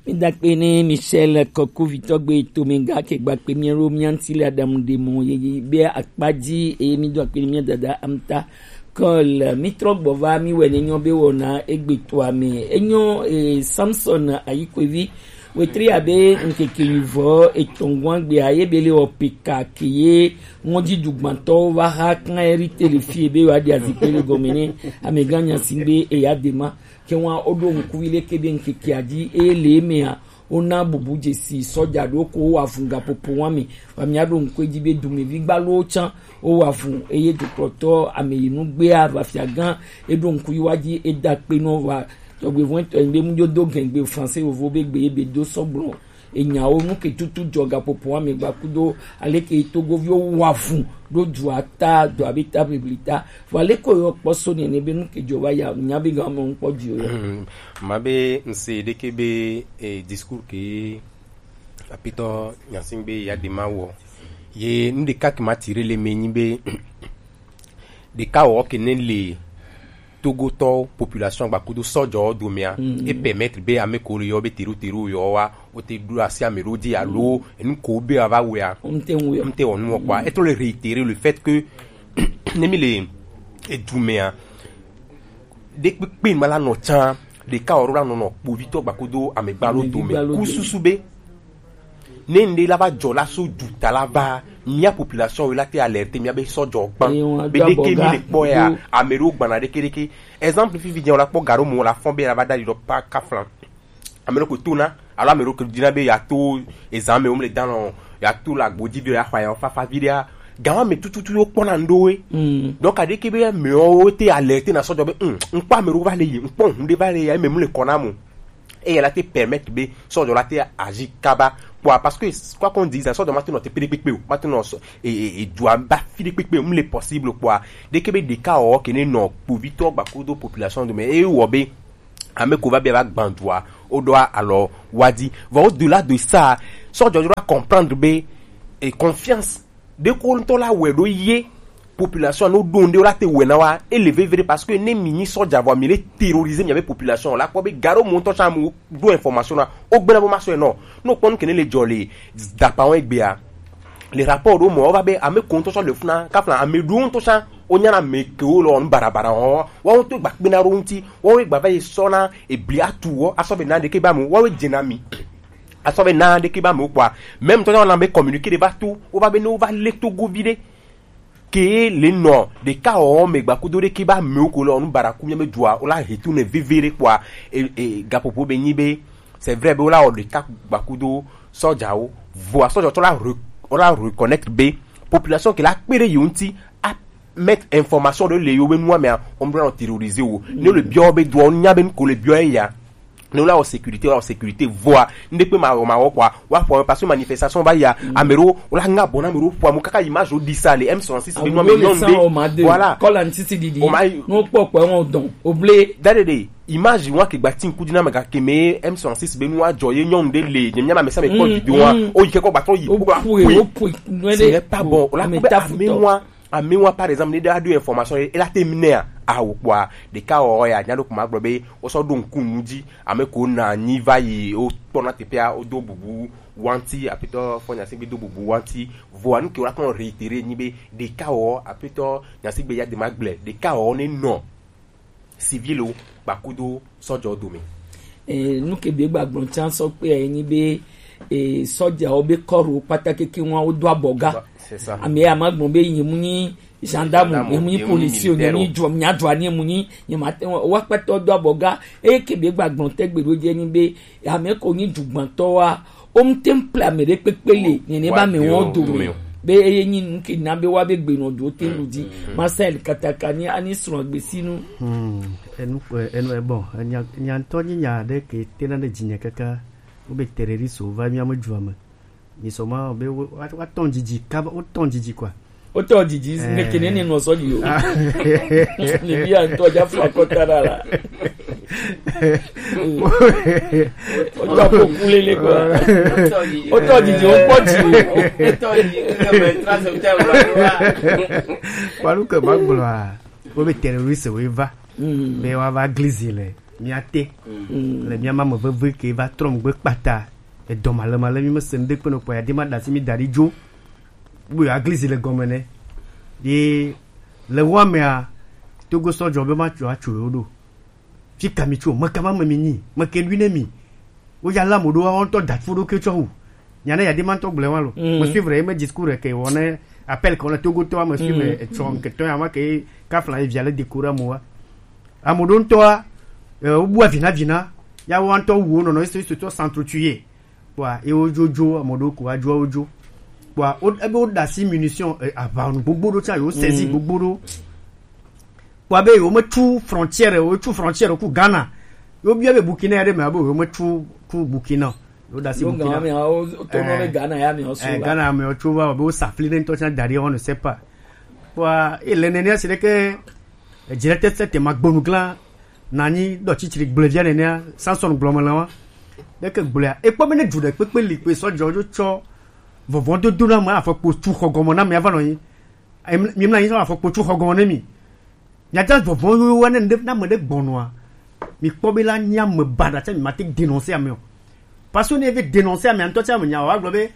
Mi da kpe ne Michel Kɔkuvitɔ gbe to mi ga ke gba kpe mi ro mi anti le Adam de mo ye be akpa di e mi do akpe mi dada Amta Cole. Mi trɔ gbɔ va mi wɛ ne nyɔ be wɔna egbe to ame. Enyo, eh, Samson Ayikwevi. Wetri abe ŋkeke yi vɔ etɔngwan gbea ye be le wɔ peka ke ye ŋɔdzi dugbantɔwo va ha kan eri te le fie be wa di azikpe le gɔme ne amegã nya si be eya de ma. Ke wa o ɖo ŋku yi leke be ŋkeke adi e le emea, wona bubu dzesi sɔja ɖo ko wo afunga popo wa mi. Wa mi aɖo ŋku edzi be dumevi gbalowo tsã wo wa fun eye dukplɔtɔ ameyinu gbea vafia gã eɖo ŋku yi wa dzi eda kpe nɔ wa tɔgbe vɔn tɔ be mu dzo do gɛn gbe français vovo be gbe ye be do sɔgblɔ enyawo nu ke tutu dzɔ gaƒoƒo ame gba kudo aleke togoviwo wa fun ɖo dua ta do abe ta bibli ta vɔ aleke yɔ kpɔ so nene be nu ke dzɔ va ya nya be ga mɔ ŋkpɔ dzi o ya. Ma be ŋse ɖeke be, eh, discours ke apitɔ nyasin be ya de ma wɔ ye nu ɖeka ke ma tire le me nyi be ɖeka wɔ ke ne le Togotɔ population gbakudo sɔjɔ domea e permettre be ame ko le yɔ be teru teru yɔ wa o te ɖo asi ame ɖo di alo enu ko be ava wea n te wɔ nu kpɔa e trɔ le réitérer le fait que ne mi le edu mea ɖekpekpe ma la nɔ tsã ɖeka wɔ ɖo la nɔ nɔ kpovitɔ gbakudo amegba lo dome ku susu be ne ŋɖe la va dzɔ la so duta la va mía population la te alerte mía be sɔjɔ gbã be ɖeke mi le kpɔ ya ame ɖewo gbana ɖeke ɖeke exemple fifi dze la kpɔ ga ɖo mo la fɔn be la va da ɖi ɖɔ pa kaflan ame ɖewo ko to na alo ame ɖewo ko dina be ya to ezan me wo le dan lɔ ya to la gbodzi bi ya xɔ ya fafa vi ɖea gawa me tututu yo kpɔna ŋɖewo ye donc aɖeke be amewo te alerte na sɔjɔ be ŋkpɔ ame ɖewo va le yi ŋkpɔ ŋu ɖe va le yi eme mu le kɔna mo Eya la te permettre be sɔjɔ la te agir kaba kpɔa, parce que quoi qu'on dise, sɔjɔ ma te nɔ te pe ɖekpekpe o, ma te nɔ sɔ e e e dua ba fi ɖekpekpe o, mu le possible kpɔa. Ɖeke be ɖeka o ke ne nɔ kpovitɔ gbakudo population do me e wɔ be ame ko va be va gban dua o do alɔ wa di. Vɔ au delà de ça, sɔjɔ doit comprendre be e confiance ɖeko ŋutɔ la wɛ ɖo ye population no ɖo ŋɖe la te wɛ na wa ele vevere, parce que ne mi nyi sɔja vɔ mi le terroriser mi abe population la kpɔ be garo mo ŋutɔ tsã mo ɖo information na o gbena bo ma sɔ enɔ no kpɔ nu kene le jɔ le dapa wo egbea le rapport ɖo mɔ wo va be ame ko ŋutɔ tsã le funa kafla ame ɖo ŋutɔ tsã wo nyana ame ke wo lɔ nu barabara wo wo ŋutɔ gba kpena ɖo ŋuti wo gba va yi sɔ na ebli atu wo asɔ be na ɖeke ba mo wo dzena mi asɔ be na ɖeke ba mo kpɔa même tɔ na be communiqué ɖe va to wo va be ne wo va le togo vi ɖe ke le nɔ ɖeka wɔwɔ me gbakudo ɖe ke ba mewo ko le ɔnu baraku miame dua wo la he tu ne veve ɖe kpɔa e e gaƒoƒo be nyi be c'est vrai be wo la wɔ ɖeka gbakudo sɔjawo voa sɔjatɔ la re wo la reconnaître be population ke la kpe ɖe yewo ŋuti a mettre information ɖe le yewo be nua mea wɔn bla nɔ terroriser wo ne le biɔ be dua wo nya be nu ko le biɔ eya ne wole wɔ sécurité wole wɔ sécurité voa ŋɖekpe ma wɔ ma wɔ kɔa wa fɔ parce que manifestation va ya ame ɖewo wole aŋa bɔ na ame ɖewo ƒo amu kaka image wo ɖi sa le M soixante-six be nua me nyɔnu ɖe voilà kɔla ŋtiti ɖiɖi o ma yi no kpɔ kpɔ ŋɔ dɔn o ble da ɖe ɖe image wa ke gba ti ŋku dzi na me gake me M soixante-six be nua dzɔ ye nyɔnu ɖe le nye mia ma me sa me kpɔ vidéo wa o yi ke kɔ gba trɔ yi o kpɔ ƒoe o ƒoe ce n'est pas bon o la kpɔ be ame wa Amewo par exemple ne ɖe aɖo information ye ela te mi nea awo kpɔa ɖeka wɔ ya nya ɖo kuma gblɔ be wosɔ ɖo ŋku nu dzi ame ko na anyi va yi wokpɔna teƒea wodo bubu wanti apetɔ fɔ nyasegbe do bubu wanti voa nu ke wòla kpɔnɔ réitéré nyi be ɖeka wɔ apetɔ nyasegbe ya de ma gblɛ ɖeka wɔ ne nɔ civil wo kpakudo sɔjɔ dome. E, nu ke be gba gblɔ tsan sɔ kpe ye nyi be e, sɔjawo be kɔro kpata keke ŋua wodo abɔ ga. C'est ça. Ame ya ma gblɔ be nye mu nyi gendarme, nye mu nyi police o, nye mu nyi dua, nye dua, nye mu nyi nye ma te wa kpata do abɔ ga. E ke be gba gblɔ te gbe do je nyi be ame ko nyi dugbantɔ wa O mu te ŋu ple ame ɖe kpekpe le nene ba me wɔn dome be eye nyi nu ke na be wa be gbe nɔ do te lu di Marcel kataka ni ani srɔ̃ agbesinu. Hmm, enu enu ebɔ enya nya ŋutɔ nyi nya ɖe ke tena ɖe dzinye kaka wo be terroriste wo va mía me dua me mi sɔ ma be wo wa tɔn dzidzi kaba wo tɔn dzidzi kɔa Wotɔ didi ne kene ne nɔ sɔ di o. Ne bi a ŋutɔ dza fla kɔta ɖa la. Wotɔ ko kulele kɔ. Wotɔ didi o kpɔ di o. Wotɔ didi o kpɔ di o. Kpalu ke ma gblɔa wo be terroriste wo va be wa va glizi le mía te le mía ma me veve ke va trɔ megbe kpata edɔ ma le ma le mi me se ŋɖe kpe no kpɔ ya de ma da si mi da ɖi dzo. Bo ya glizi le gɔme nɛ. Ye le wa mea Togo sɔjɔ be ma tso atso yo ɖo. Fi ka mi tso me ka ma me mi nyi me ke ɖui ne mi. Wo ya la mo ɖo wa ŋutɔ da fo ɖo ke tsɔ wu. Nya ne ya de ma ŋutɔ gblẽ wa lo. Me suivre ye me discours ke wɔ ne appel ke wɔ ne Togo tɔ me suivre etsɔ nke tɔ ya ma ke kafla ye via le décorer mo wa. Ame ɖewo ŋutɔa, eh, wobua vina vina, ya woa ŋutɔ wu wo nɔnɔ, ils se sont s'entretuer. Kpɔa, ye wodzo dzo, ame ɖewo ko adzo wodzo. Kpɔa, wo, ebe woɖe asi munition, eh, aʋa nu gbogbo ɖo tsã, yewo saisie gbogbo ɖo. Kpɔa be yewo metu frontière, wotu frontière ku Ghana. Yewo bia be Burkina ya ɖe me, abe yewo metu ku Burkina. Yewo ɖe asi Burkina. Ghana me, wo, to nɔ be Ghana ya me, wo so eh, la. Ghana me, wo tso va, be wo safli ne ŋutɔ tsã da ɖi, on ne sait pas. Kpɔa, ele nene asi ɖeke, Edzre tete te ma gbonu gla na nyi ɖɔ tsitsri gblevia nenea Samson gblɔ me le wa. Ɖeke gblɔa, ekpɔ be ne du ɖe kpekpe li kpe sɔ dzɔ dzo tsɔ vɔvɔ dodo na me afɔkpo tu xɔ gɔme na me ava nɔ nyi. Em, mi mla nyi sɔ afɔkpo tu xɔ gɔme ne mi. Nya ta vɔvɔ yo wa ne ne na me ɖe gbɔnɔa. Mi kpɔ be la nya me ba da tsa mi ma te dénoncer ame o. Parce que ne ve dénoncer ame ŋutɔ tsa me nya wa gblɔ be,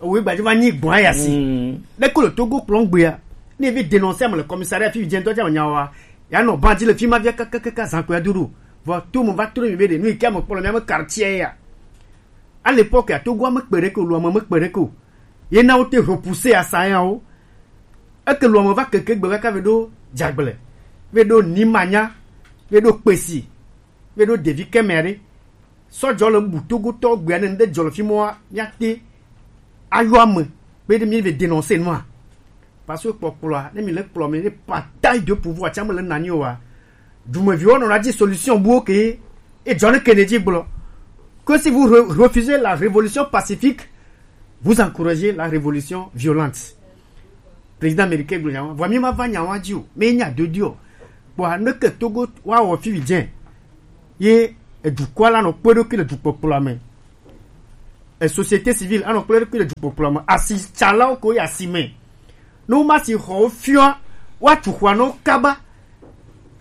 owe gbadzo va nyi gbɔn ya si. Mm. Ne ko le Togo kplɔn gbea, ne ve dénoncer ame le commissariat fi dze ŋutɔ tsa me nya wa, ya nɔ ban dzi le fi ma via kakakaka zan ko ya dodo. Vɔ to mo va to mi be de, nu ke ame kpɔ le mia me quartier ya. À l'époque ya Togo ame kpe ɖe ko, lo ame me kpe ɖe ko. Ye na wo te repousser asa ya wo. Eke lo ame va keke gbe kaka ve ɖo dzagble, ve ɖo nimanya, ve ɖo kpesi, ve ɖo devi kɛmɛ ɖe. Sɔjɔ le bu Togotɔ gbea ne ŋɖe dzɔ le fi mɔa, míate ayɔ ame be ne mi ve dénoncer nua. Parce que kpɔkplɔa, ne mi le kplɔ mi ne partage de pouvoir tsa me le nanyi oa, dumeviwo nɔna dzi solution buwo ke edzɔ ne Kennedy gblɔ. Que si vous re- refusez la révolution pacifique, vous encouragez la révolution violente. Président américain gblɔ nya wa, vɔ mi ma va nya wa dzi o, mi nya do di o. Kpɔa ne ke Togo wa wɔ fi dze, ye edukɔ la nɔ kpe ɖokui le dukpɔkplɔa me. E société civile anɔ kpe ɖokui le dukpɔkplɔa me. Asitsalawo ko yi asi me. Ne woma si xɔwo fiɔa, woatu xɔa na wo kaba.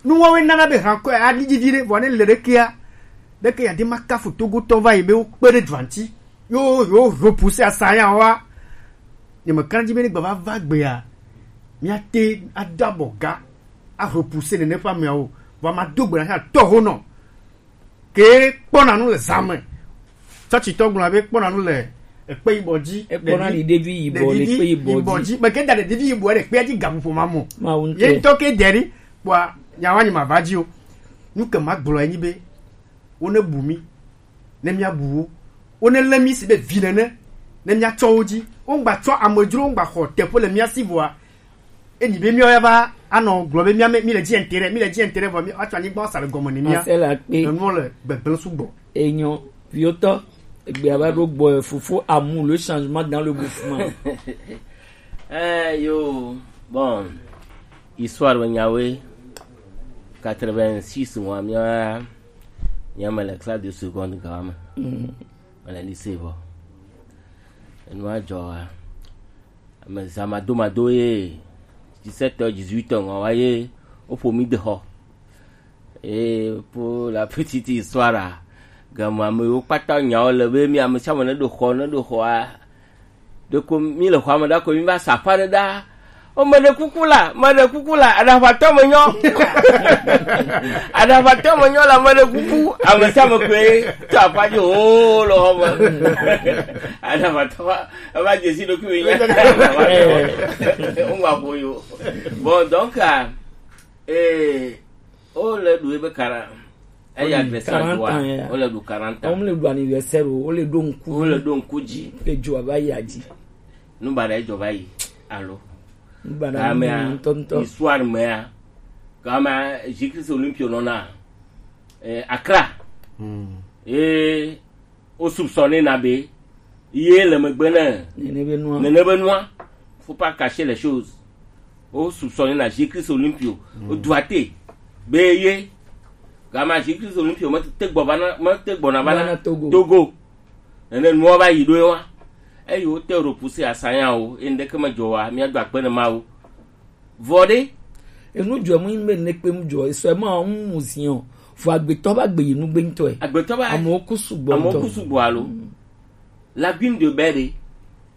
Nuwawoe nana be hankɔ ya aɖi dzi viɖe, vɔ ne le ɖekea, ɖeke ya de ma kafu Togotɔ va yi be wokpe ɖe dua ŋuti. Yo, yo repousser assaillant wa. Nye mekana dzi be ne gbava va gbea, míate ado abɔ ga, a repousser nene ƒe ameawo. Vɔ ma do gbe na tɔho nɔ. Ke kpɔna nu le zã me. Tsɔtsitɔ gblɔna be kpɔna nu le ekpe yibɔ dzi. Ekpɔna ɖevi- ɖevi yibɔ le ɖevi ekpe yibɔ yibɔ dzi. Dzi. Meke da ɖevi yibɔ ɖe kpea dzi gaƒoƒo ma mo. Mawu ŋutɔ. Ye ŋutɔ ke deri, kpɔa, nyawa nyi ma va dzi o. Nu ke ma gblɔ enyi be, wo ne bu mi, ne mia bu wo. Wo ne lé mi si be vi nene, ne mia tsɔ wo dzi. Wo ŋgba tsɔ amedzro, wo ŋgba xɔ teƒe le mia si vɔa, Eni be míawo ya va anɔ gblɔ be mía mi le dzi intérêt, mi le dzi intérêt vɔ mi atsɔ anyigba sa le gɔme ne mía. Marcel Akpe. Enuɔ le gbegblẽ sugbɔ. Enyo, viotɔ, egbe ava ɖo gbɔ fofo amu le changement dans le mouvement. Eh yo, bon, histoire be nyawoe, quatre-vingt-six mois mía mía me le classe de seconde gawa me. Mm. Me le lycée vɔ. Enua dzɔ wa. Ame zã madomado ye, dix-sept heures, dix-huit heures ŋɔ wa ye woƒo mí de xɔ. Et pour la petite histoire, game ame yiwo kpata nyawo le be mi ame sia ame ne ɖo xɔ, ne ɖo xɔa, ɖeko mi le xɔa me ɖa ko mi va sa aƒa ɖe ɖa. O, meɖe kuku la, meɖe kuku la, aɖaʋatɔ me nyɔ. Aɖaʋatɔ me nyɔ la, meɖe kuku. Ame sia ame koe to aƒa dzi o le xɔ me. Aɖaʋatɔ va, va dze si ɖokui me nya. Woma ƒo yo. Bon, donc, ah, eh, o le ɖu ebe kara. Eya adresse la quarante doa, ans, ya. Wole ɖu quarante ans. Wole ɖu anniversaire o, wole ɖo ŋku. Wole ɖo ŋku dzi. Le dzoa va yi adzi. Nu baɖa edzɔ va yi, alo? Nu baɖa gamea, ŋutɔ ŋutɔ. Histoire mea, gamea, Jésus Christ Olympio nɔna, eh, Accra. Hmm. Ye wo soupçonner na be ye le megbe ne nene be nua. Nene be nua. Faut pas cacher les choses. Wo soupçonner na Jésus Christ Olympio. Mm. Wo duate be ye. Gama Jésus Christ Olympio mete gbɔ va na, mete gbɔna va na Togo. Togo. Nene nua va yi ɖo ye wa. Eyi wo te repousser asanya wo, ye ŋɖeke me dzɔ wa, mía do akpe ne Mawu. Vɔ ɖe. Enu dzɔ mu be ne kpe mu dzɔ, esɔ ma mu mu ziɔ. Vɔ agbetɔ ba gbe yi nu gbe ŋutɔ. Agbetɔ ba. Amewo ku sugbɔ ŋutɔ. Amewo ku sugbɔ alo. Mm. Lagune de Baie ɖe.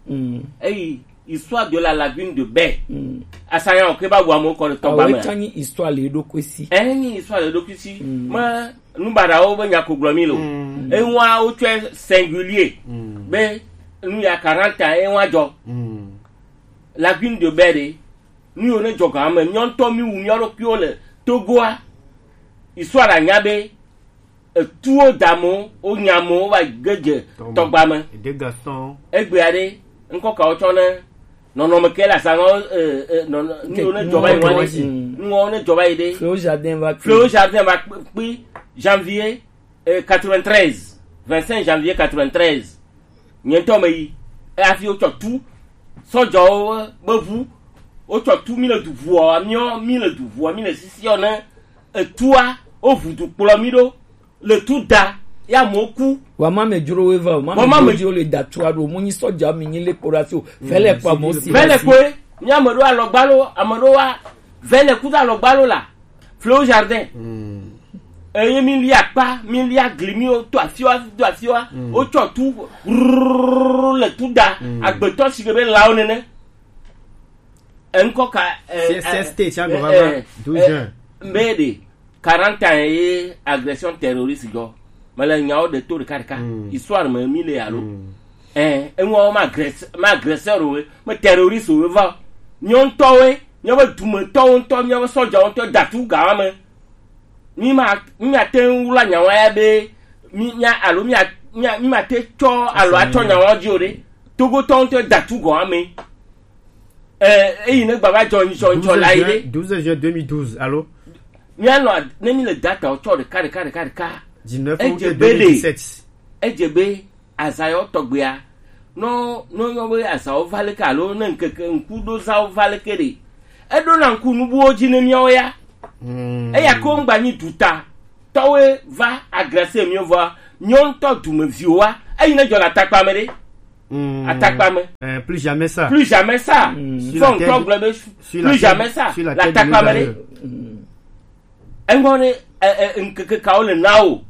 Mm. Eyi, histoire de la lagune de Baie. Mm. Asanya o ke ba wu amewo kɔ ɖe tɔgba me. Awo tsanyi histoire le ɖo kwesi. Enyi histoire le ɖo kwesi. Mm. Me nubaɖawo be nya ko gblɔ mi lo. Mm. Enua wo tsɔe singulier. Mm. Be nu ya quarante ans enwa dzɔ. Mm. Lagune de Baie ɖe. Nu yiwo ne dzɔ ga me, míawo ŋutɔ míwu mía ɖokuiwo le Togoa. Histoire anya be etuwo da amewo, wonya amewo va ge dze tɔgba me. Egbea ɖe, ŋkɔ kawo tsɔ ne nɔnɔme ke le azã ŋɔ, eh, eh, nɔnɔ-, nu yiwo ne dzɔ va yi ŋua ɖe, nuwo ne dzɔ va yi ɖe. Fléau Jardin va kpi. Fléau Jardin va kpi, kpi, janvier, eh, quatre-vingt-treize, vingt-cinq janvier quatre-vingt-treize. Nye ŋutɔ me yi. Eya hafi wotsɔ tu. Sɔdzawo be ʋu. Wotsɔ tu mi le du ʋua, miɔ, mi le du ʋua, mi le sisiɔ ne etua, wo ʋu du kplɔ mi ɖo. Le tu da, ya mo ku. Wa ma me dzro we va o, ma me dzro le da tua ɖo, mo nyi sɔdza mi nyi le kpo ɖa fi o. Vele kpa mo si. Vele koe, mi ame ɖo alɔgbalo, ame ɖo wa, vele ku da alɔgbalo la. Fléau Jardin. Mm. Eye mi lia akpa, mi lia gli, mi wo to afiwa, to afiwa. Mm. Wotsɔ tu, rrrr, le tu da. Mm. Agbetɔ si ke be lawo nene. Eŋkɔ ka, eh, C S T, eh, eh, douze juin. Mbe ɖe, quarante ans ye agression terroriste dzɔ. Mele nyawo ɖe to ɖeka ɖeka. Mm. Histoire me mi le alo. Mm. Eh, eŋua ma agres-, ma agresseur o, ma terroriste o, va. Nyɔ ŋutɔwoe, míaƒe dumetɔwo ŋutɔ, míaƒe sɔdzawo ŋutɔ da tu gawa me. Mi ma, mi ma te ŋu wla nyawa ya be, mi, mia, alo mia, mia, mi ma te tsɔ alo atsɔ nyawa dzi o ɖe. Togotɔwo ŋutɔ da tu gawa me. Eh, eyi ne gbava dzɔ ŋtsɔ ŋtsɔ la yi ɖe. Douze juin deux mille douze, alo? Míanɔ a-, ne mi le datawo tsɔ ɖeka, ɖeka, ɖeka, ɖeka. Dix-neuf août deux mille dix-sept. Edze be azayɔ tɔgbea, nɔ nɔ nyɔ be azawo va leke alo ne ŋkeke ŋkuɖozawo va leke ɖe, eɖo na ŋku nubuwo dzi ne miawo ya. Eya ko ŋgba nyi duta tɔwoe va agrese miwo vɔa, miwo ŋutɔ dumeviwo wa, eyi ne dzɔ le atakpa me ɖe. Atakpa me. Euh, plus jamais ça. Plus jamais ça. Fɔ ŋkɔ gblɔ be plus jamais ça. Sur la tête de nos aïeux. Eŋɔ ne ŋkeke kawo le na o.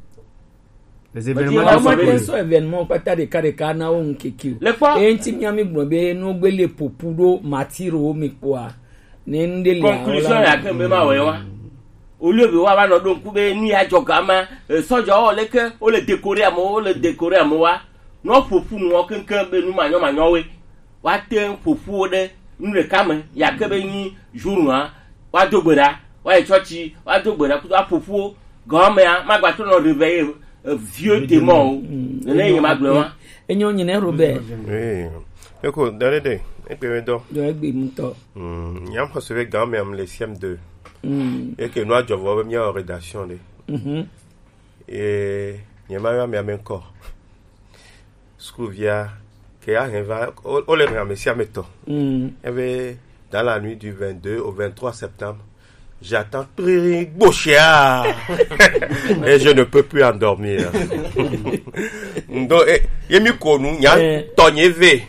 Les événements. Ɔmɔ te sɔ événement kpata ɖeka ɖeka na wo ŋkeke o. Le kpɔ. Eŋti mia mi gblɔ be no gbe le popu ɖo matiro mi kpɔa. Ne ŋɖe le conclusion ya ke be ma wɛ wa. Olio be wa va nɔ ɖo ŋku be ni ya dzɔ gama, sɔdzɔ wo leke wo le décorer amewo, wo le décorer amewo wa. Nɔ ƒoƒu nuwo keŋkeŋ be nu manyɔmanyɔwoe. Woate ŋu ƒo ƒu wo ɖe nu ɖeka me, yake be nyi jour nua, woado gbe ɖa, woayi tsɔtsi, woado gbe ɖa kudo aƒo ƒu wo. Gɔmea magbatrɔ nɔ réveiller, euh, vieux démon o. Nene ye magblɔ wa. Enyo nyine Robert. Oui. Eko, dare de, ekpe me dɔ. Dɔ egbe ŋutɔ. Mm, nyam xɔse be gɔmea m le C M deux. Mm. Eke nua dzɔ vɔ be mia rédaction de. Mhm. Et nyema yɔ amea me encore. Sukuvia ke ya hɛn va, wo, wo le hɛn ame sia ame tɔ. Mm. Ebe, dans la nuit du vingt-deux au vingt-trois septembre, j'attends très gboshia. Et je ne peux plus endormir. Donc, eh, ye mi ko nu, nya, eh, tɔ nye ve.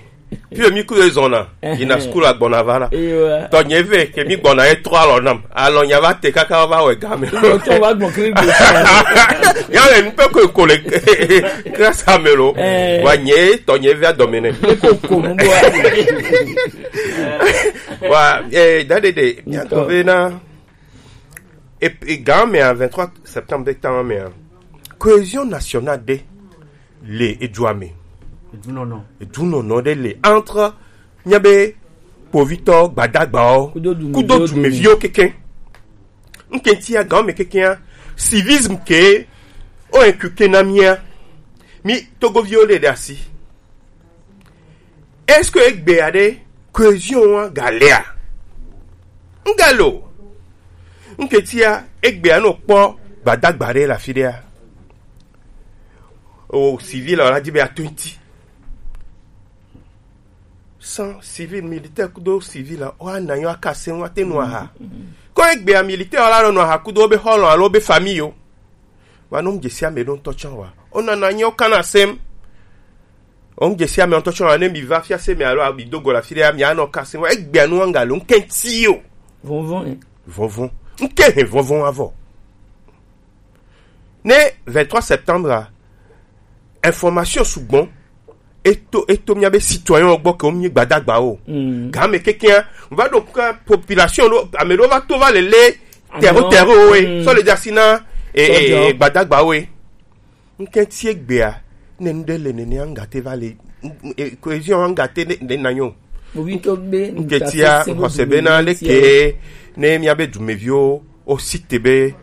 Puis mi ku zɔna, eh, yina, eh, school agbɔna va la. Ewa. Tɔ nye ve, ke mi gbɔna ye trɔ alɔ nam. Alɔ nya va te kaka va wɛ game. Lo tso va gbɔn kiri gbe. Ya le nu pe ko ko le grâce à me lo. Eh. Wa nye tɔ nye ve adɔme ne. Ko ko nu do. Wa, eh, dade de, ya to ve na. Et, et gɔmea, vingt-trois septembre de temps mea, cohésion nationale de le edua me. Edunɔnɔ. Edunɔnɔ ɖe le entre mía be kpovitɔ gbadagbawo kudo dumeviwo keke. Ŋkɛtia gɔme kekea, civisme ke o inculqué na mía. Mi Togoviwo le ɖe asi. Est-ce que egbea ɖe cohésion wa galea? Ŋgalo. Ŋkɛtia egbea no kpɔ gbadagba ɖe le afi ɖea. O civil la di be ato ŋti. Sans civil, militaire kudo civil la, o ana yo aka se wa te no aha. Ko egbea militaire la no no aha kudo be xɔlɔ alo be famille yo. Wa no ŋdzesi ame ɖo ŋutɔ tsã wa. O nana nyi o kana sem. O ŋdzesi ame ŋutɔ tsã wa ne mi va fiase me alo abi do go la fi ɖe mi anɔ ka sem wa. Egbea nu anga lo ŋkɛti o. Vɔvɔn, eh. Vɔvɔn. Ŋkɛ he vɔvɔn avɔ. Ne vingt-trois septembre a, information sugbɔn eto, eto mía be citoyen gbɔ ke wo mi gbadagba o. Mm. Game kekea, va ɖo ka population ɖo, ame ɖo va to va le le terreau, terreau we, mm, sɔ le dzasi na, e, e, gbadagba we. Ŋkɛti egbea, ne nu ɖe le nenea ŋgate va le, e, cohésion ŋgate ne, ne nanyo. Ŋkɛtia xɔse bena leke ne mía be dumeviwo o cité be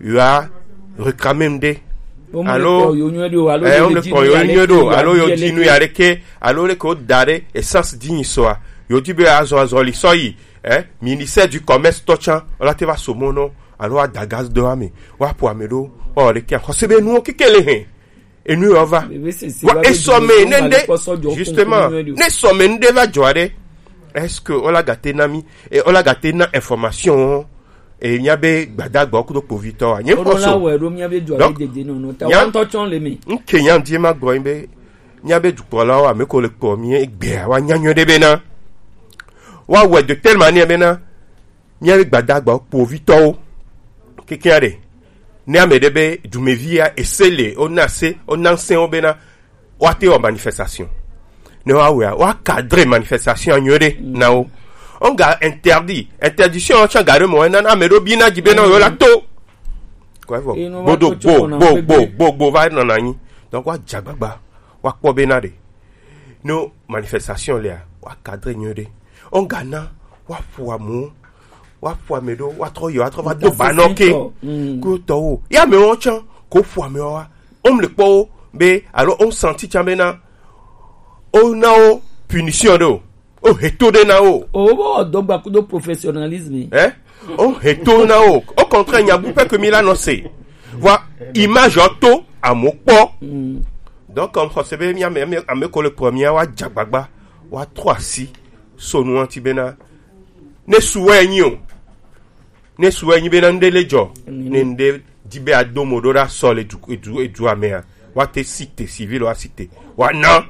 yewoa réclamer ŋɖe. Alo, eh, wo le kpɔ yo nyuie ɖo, alo yo di nu ya ɖeke, alo leke wo da ɖe essence di nyi sɔa, yo di be azɔ azɔli sɔ yi, eh, ministère du commerce tɔ tsã, wola te va so mɔ nɔ, alo wa da gaz do ame, wa po ame ɖo, wa wɔ ɖeke, xɔse be nuwo keke le hɛn, enu yɔ va. Wa esɔ me ne ŋɖe, justement, ne esɔ me ŋɖe va dzɔ ɖe, est-ce que wola gate na mi, e wola gate na information? E mía be gbadagbawo kudo kpovitɔ wa. Nye xɔso. Donc, nya ŋutɔ tsɔ le mi. Ŋke nya ŋdi ma gblɔ be mía be dukplɔlawo ame ko le kpɔ mi egbea wa nya nyuie ɖe bena wa wɛ de telle manière bena mía be gbadagbawo kpovitɔwo kekea ɖe ne ame ɖe be dumevia ese le o na se o na se wo bena woate wɔ manifestation. Ne woawɔa, woa cadre manifestation nyuie ɖe na wo. On ga interdit. Interdiction tsã ga ɖe mɔ ena na ame ɖo bi na dzi be na wo la to. Kɔe vɔ. Gbodo gbo gbo gbo gbo gbo va nɔna anyi. Donc woadze agbagba. Woakpɔ be na ɖe. No manifestation lea, woa cadre nyuie ɖe. On ga na, woaƒo amewo. Woaƒo ame ɖo, woatrɔ yi, woatrɔ va do ba nɔ ke. Kuyotɔwo. Ya amewo tsã, ko ƒo amewo wa. Wom le kpɔ wo be, alo wom senti tsã be na, wona wo punition ɖe o. Wohe to ɖe na wo. O, wo be wɔ dɔgba kudo professionnalisme. Eh? Wohe to na wo. Au contraire, nya bu pɛ ke mi la nɔ se. Vɔ image ɔ to amewo kpɔ. Mm. Donc, comme xɔse be mi ame, ame, ame ko le kplɔ mia wa dza gbagba, wa trɔ asi so nu ŋuti bena ne su wɛ nyi o. Ne su wɛ nyi bena ŋɖe le dzɔ, ne ŋɖe di be ado mo ɖo ɖa sɔ le du, edu, edua mea, wa te si te civil wa si te. Wa na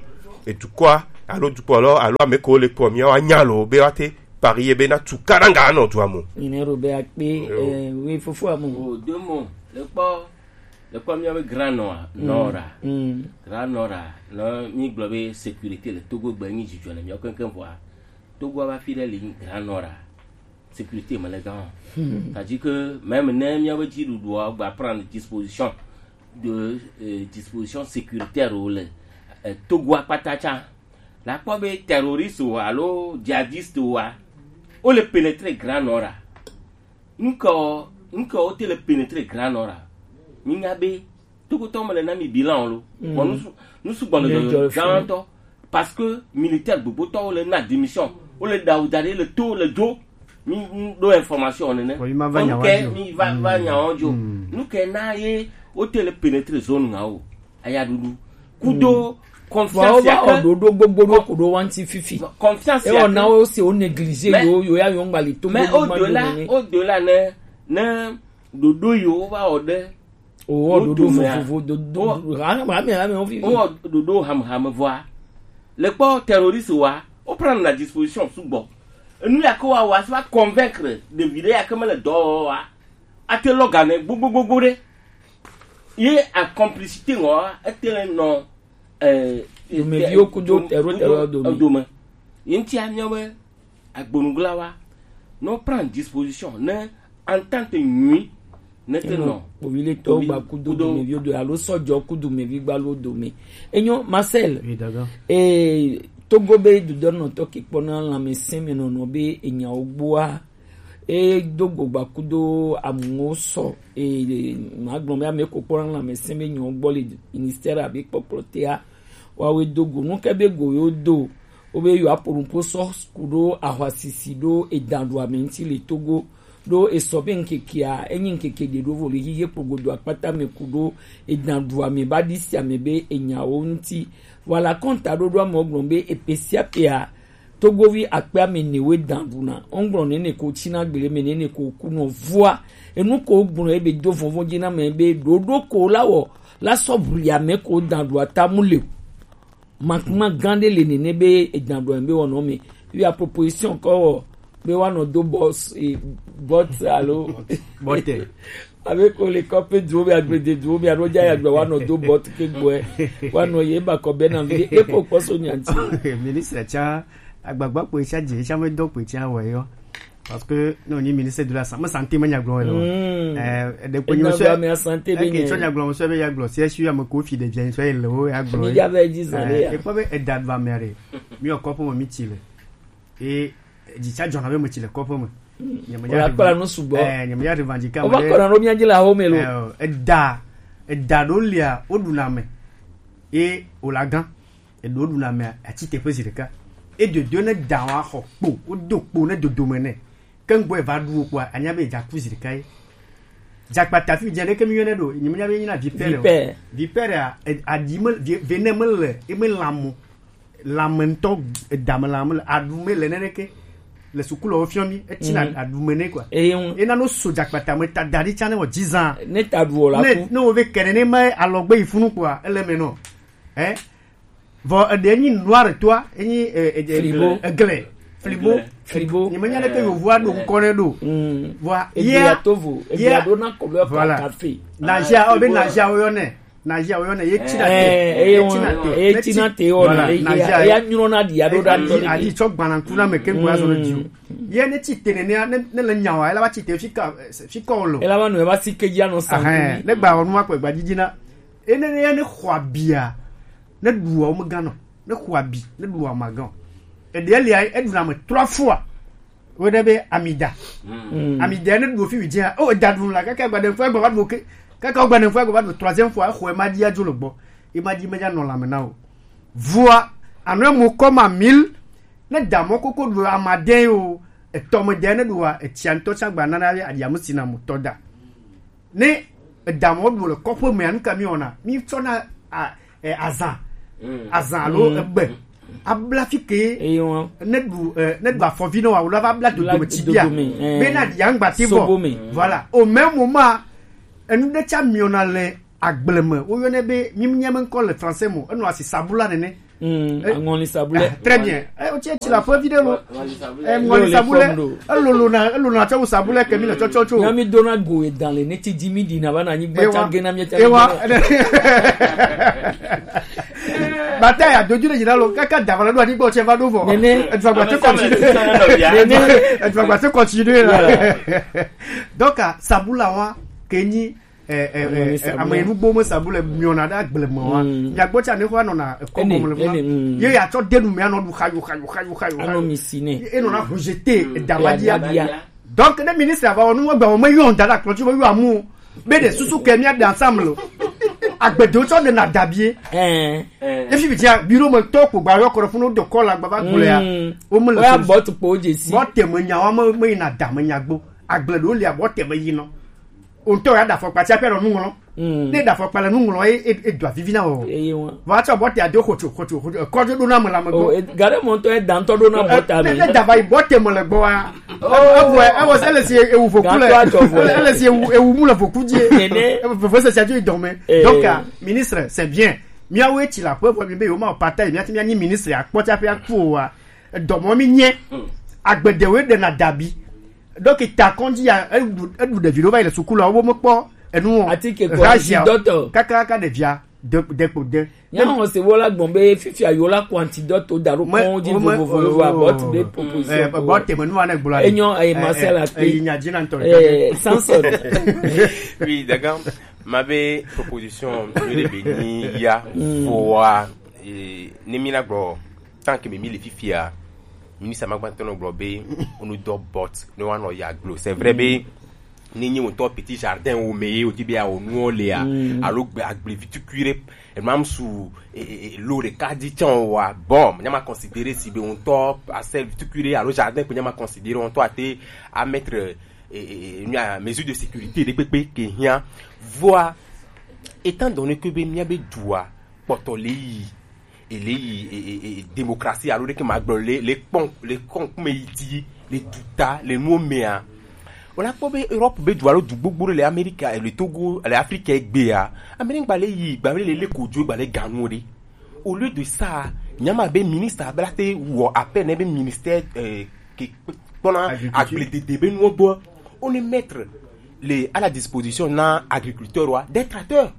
edukɔa alo dukplɔlɔ alo ame ko le kplɔ mia wa nya lo be wa te pari ye bena tu ka ɖanga anɔ dua mo. Ine ro be akpe, eh, we fofo amo. O, de mo, le kpɔ, le kpɔ mia be grand nɔa, nɔra. Grand nɔra, no mi gblɔ be sécurité le Togo gbe nyi dzidzɔ le mia keŋkeŋ vɔa. Togo va fi ɖe li grand nɔra. Sécurité me le gan. C'est-à-dire que même ne mia be dzi ɖuɖua gba prendre disposition de, euh, disposition sécuritaire o le, euh, Togo akpata tsa. La kpɔ be terroriste o alo djihadiste oa, o le pénétrer grand nɔra. Ŋkɔ, ŋkɔ wote le pénétrer grand nord a. Mi nya be Togotɔ me le na mi bilan lo. Bon, nous nous sugbɔ le gãtɔ parce que militaire gbogbotɔ wo le na démission, wo le dawu da ɖe le to le dzo. Mi do information nene. Bon, mi ma va nya wa dzo. Mi va va nya wa dzo. Nu ke na ye wote le pénétrer zone nga o. Ayaɖuɖu kudo confiance ya ke. Ɖoɖo gbogbo ɖo ku ɖo wanti fifi. Confiance ya ke. Ewɔ na wo se wo négliger yo yo ya yo ŋgbali to. Mais au delà, au delà ne ne ɖoɖo yo wo va wɔ ɖe. O wɔ ɖoɖo vovovo ɖoɖo ha ha me ha me wo fifi. Wo wɔ ɖoɖo hamham vɔa. Le kpɔ terroriste wa, wo prendre la disposition sugbɔ. Enu ya ke wa wa se va convaincre ɖevi ɖe ya ke me le dɔ wa. Ate lɔ ga ne gbogbogbogbo ɖe. Ye a complicité ŋɔ ete le nɔ eh, domeviwo kudo tero tero dome. Dome. Ye ŋuti amiɔ be agbonuglawa no prend disposition ne entente nyui ne te nɔ kpoviletɔwo gba kudo domeviwo do alo sɔjɔ kudo mevi gbalo dome. Enyo Marcel. Eh, Togo be dudɔnɔtɔ kikpɔna lãmesẽ me nɔnɔ be enyawo gbɔa. E do gogba kudo amuwo sɔ. E magblɔ be ame ko kpɔna lãmesẽ be nyawo gbɔ le ministère abe kpɔkplɔ tea. Wawe do go nu ke be go yo do. Wo be yo apo nupo sɔ kudo ahwasisi do edan do ame ŋuti le Togo. Do esɔ be ŋkekea enyi ŋkeke de do vo le yiye kpogodo akpata me kudo edan do ame ba di si ame be enyawo ŋuti. Voilà kɔnta do do ame gblɔ be epe sia pea Togovi akpe ame ne we dan ɖuna. Wogblɔ nene ko tsina gble me nene ko kunɔ vɔa. Enu ko gblɔ ebe do vɔvɔ̃ dzi na me be ɖoɖo ko la wɔ la sɔ bli ame ko dan ɖua tamu le. Makuma gã ɖe le nene be edan ɖua be wɔnɔ me. Wi a proposition kɔ wɔ be wa nɔ do bɔs e bɔt alo bɔtɛ. Abe ko le kɔƒe duwo be agbede duwo be alo dza ya gbe wa nɔ do bɔt ke gbɔe. Wa nɔ ye ba kɔ be na mi e ko kpɔ so nyanti. Ministre tsa agbagba kpoe tsa dze tsa me dɔ kpoe tsa wɔ yɔ. Parce que non ni ministre de la santé, me santé me nya gblɔ le. Eh, de ko nyo so me santé be ni. Ke tso nya gblɔ so be ya gblɔ. Si si ya me ko fi de bien so le o ya gblɔ. Mi ya be dix ans ya. E ko be e da ba me re. Mi o ko po mi ti le. E dzi tsa dzɔna be me tsi le kɔƒe me. Nyemenya. Wòle akpla nu sugbɔ. Eh, nyemenya revendiquer ame ɖe. Wova kɔna ɖo mía dzi le awo me lo. Eh, eda, eda ɖo lia, woɖuna ame. Ye wòle agã. Eɖo ɖuna ame atsi teƒe zi ɖeka. E dodo ne da wa xɔ kpo, wodo kpo ne dodome nɛ. Ke ŋgbɔ eva ɖu wo kpoa, anya be edza ku zi ɖeka ye. Dzakpata fi dze ɖeke mi yɔnɛ ɖo, nyemenya be nyina vipère o. Vipère. Vipère a, e- aɖi me, vi- venɛ mele, e me lãmo. Lãme ŋutɔ, edame lãme le, aɖu me le neneke. Le sukulu wo fiɔ mi, etsina aɖu me ne kua. Eye ŋu. Ena no so dzakpata me ta da ɖi tsa ne wɔ dizan. Ne ta ɖu o la ku. Ne wo ve kene ne ma alɔgbe yi funu kua, ele me nɔ. Eh? Vɔ eɖe nyi noir toa, enyi, eh, eh, eh, Frigo. Egle. Frigo. Frigo. Nyemenya ɖeke yovoa ɖo ŋkɔ nɛ ɖo. Vɔa, Eglia yea, tovo, Eglia yea, ɖo na kɔbɛ voilà. Café. Nazia, o be nazia wo yɔnɛ. Nazia wo yɔnɛ, ye tina te. Eh, eye Ye tina te. Ye Ne ti- tina te o voilà, na, ye nazia ya ye. Nyɔna ɖi ado ɖa Adi, adi tsɔ gbananku na me ke gba zɔ ne di o. Ye ne ti te ne ne, ne le nyawa, ela va ti te fi ka, fi kɔ lo. Ela va nu, eva si ke ya no sa. Ahɛn, ne gba ɔnu akpɛ gba didi na. Ene ne ne xɔ abia. Ne ɖu wo me gã nɔ. Ne xɔ abi, ne ɖu wo me gã. Eɖe lia, eɖu na me trois fois. Wo ɖe be amida. Amida ne ɖu fi dzi. O da ɖu la kaka gba de fois gba ɖu ke. Kaka gba de fois gba ɖu troisième fois xɔ ma di adzo le gbɔ. E ma di me ja nɔ la me na o. Vua anɔ mo kɔ ma mil. Ne da mɔ koko ɖu amade o. Etɔ me de ne ɖu wa etia ŋutɔ tsa gba na na adia mu sina mu tɔ da. Ne edamɔ ɖu le kɔƒe mea, nu ka mi wɔna? Mi tsɔna a, eh, azan, azan alo egbe, abla fi ke, eye wan ne ɖu eh, ne ɖu afɔvi nɔ wa wòle va bla dodome tsi bia, dodome, eh, bena ɖi yangba te bɔ. Sobo me. Voilà, au même moment, enu ɖe tsa miɔna le agble me, woyɔnɛ be, mi nya me ŋkɔ le français mo, enɔ asi sabula nene. Mm, eh, aŋɔli sabulɛ. Ah, très bien. Eh, o tsi tsi la fɔ vi ɖe lo. Eh, ŋɔli sabulɛ. Elolo na, elolo na tsɔ sabulɛ ke mi le tsɔtsɔ tso. Nya mi dona go edan le ne ti di mi di na va na anyi gba tsa ge na mi tsa. Ewa. Bata ya doju le jina lo kaka da va la do anyi gba o tse va do vɔ. Nene. Et va gba te continuer. Nene. Et va gba te continuer là. Donc, ah, sabula wa ke nyi eh, eh, eh, eh, ame nugbo me sabu le miɔna ɖe agble me wa. Mm. Miagbɔ tsa ne xɔ anɔna ekɔ gɔme le funa. Ye ya tsɔ denu me anɔ ɖu xayo, xayo, xayo, xayo, anɔ mi si ne. Ye enɔna rejeter, mm, edavadia. Donc, ne ministre ava wɔ nu, egbe wɔ me yɔ da ɖe akplɔ dzi, me yɔ amu. Be ɖe susu ke mia ɖe ensemble. Agbedewo tsɔ ɖe na dabie. Eh. Efi bi tia, biro me tɔ kpo gba yɔ kɔ ɖe funu de kɔ la gba va gblɔa. Mm. Wo me le ya solution. Bɔ tu kpo dze si. Bɔ te me nya wa me, me yina da me nya gbo. Agble ɖewo lia, bɔ te me yi nɔ. O ŋutɔ ya ɖe afɔkpa tsi aƒe nɔ nu ŋlɔ. Mm. Ne ɖe afɔkpa le nu ŋlɔ, e, e, e do avivi na wɔ. Eye ŋua. Vɔ atsɔ bɔta do xotso, xotso, xotso. Ekɔdzo ɖo na ame le ame gbɔ. O, e, gare mɔ ŋutɔ eda ŋutɔ ɖo na bɔta me. Ne, ne dava yi bɔta me le gbɔ wa. Evɔ, evɔ, ele si ewu voku le. Gato atsɔ vɔ. Ele si ewu, ewu mu le voku dzi. Nene. Veve se sia dzo yi dɔme. Eh. Donc, ah, ministre, c'est bien. Miawo etsi la ƒe vɔ mi be yewo ma pata yi, miati mianyi ministre akpɔ tsi aƒe akpɔ wa. Edɔmɔ mi nye. Mm. Agbedewoe ɖena dabi. Donc, ta kɔndzi ya, eɖu, eɖu ɖevi ɖewo va yi le sukulu, wo mekpɔ enu o. Ati ke kɔ Razia, antidote. Kakaka ɖevia, de, de kpo de. Nya hɔn se wo la gbɔn be fifia yo la kɔ antidote da ɖo kɔn dzi vovovo, abɔ ti be proposition. Eh, bɔ teme nu ane gblɔ. Enyo, eh, Marcel a pe. Eh, nya dzi na ntɔ. Eh, Samson. Oui, d'accord. Ma be proposition, mi le be ni ya, mm, voa, eh, ne mi na gblɔ. Tant que mi le fifia, ministre ma gbãtɔ nɔ gblɔ be, onu dɔ bot, ne wa nɔ ya glo. C'est vrai be, ni nyi ŋutɔ petit jardin wo me ye, o ti be ya o nuɔ lea, mm, alo gbe agble vitukui ɖe, e mam su, e, e, e, lo ɖeka dzi tsã wa. Bon, nya ma considérer si be ŋutɔ parcelle vitukui ɖe, alo jardin kpe nya ma considérer ŋutɔ ate a mettre, e, e, e, nya mesure de sécurité ɖe kpekpe ke hiã. Voa, étant donné que be mia be dua, kpɔtɔ le yi, ele yi, e, e, e, démocratie alo ɖeke ma gblɔ le, le kpɔn, le kɔn kume yi di, le duta, le nuwo mea. O la kpɔ be Europe be du alo du gbogbo ɖe le Amerika, le Togo, le Afrika egbea. Amerika gba le yi, gba le le kodzo, gba le ganu ɖe. Au lieu de ça, nyama be ministre abla te wɔ appel ne be ministère, euh, ke kpɔna agriculture, agbledede be nuwo gbɔ. On est mettre les, à la disposition na agriculteur wa des tracteurs.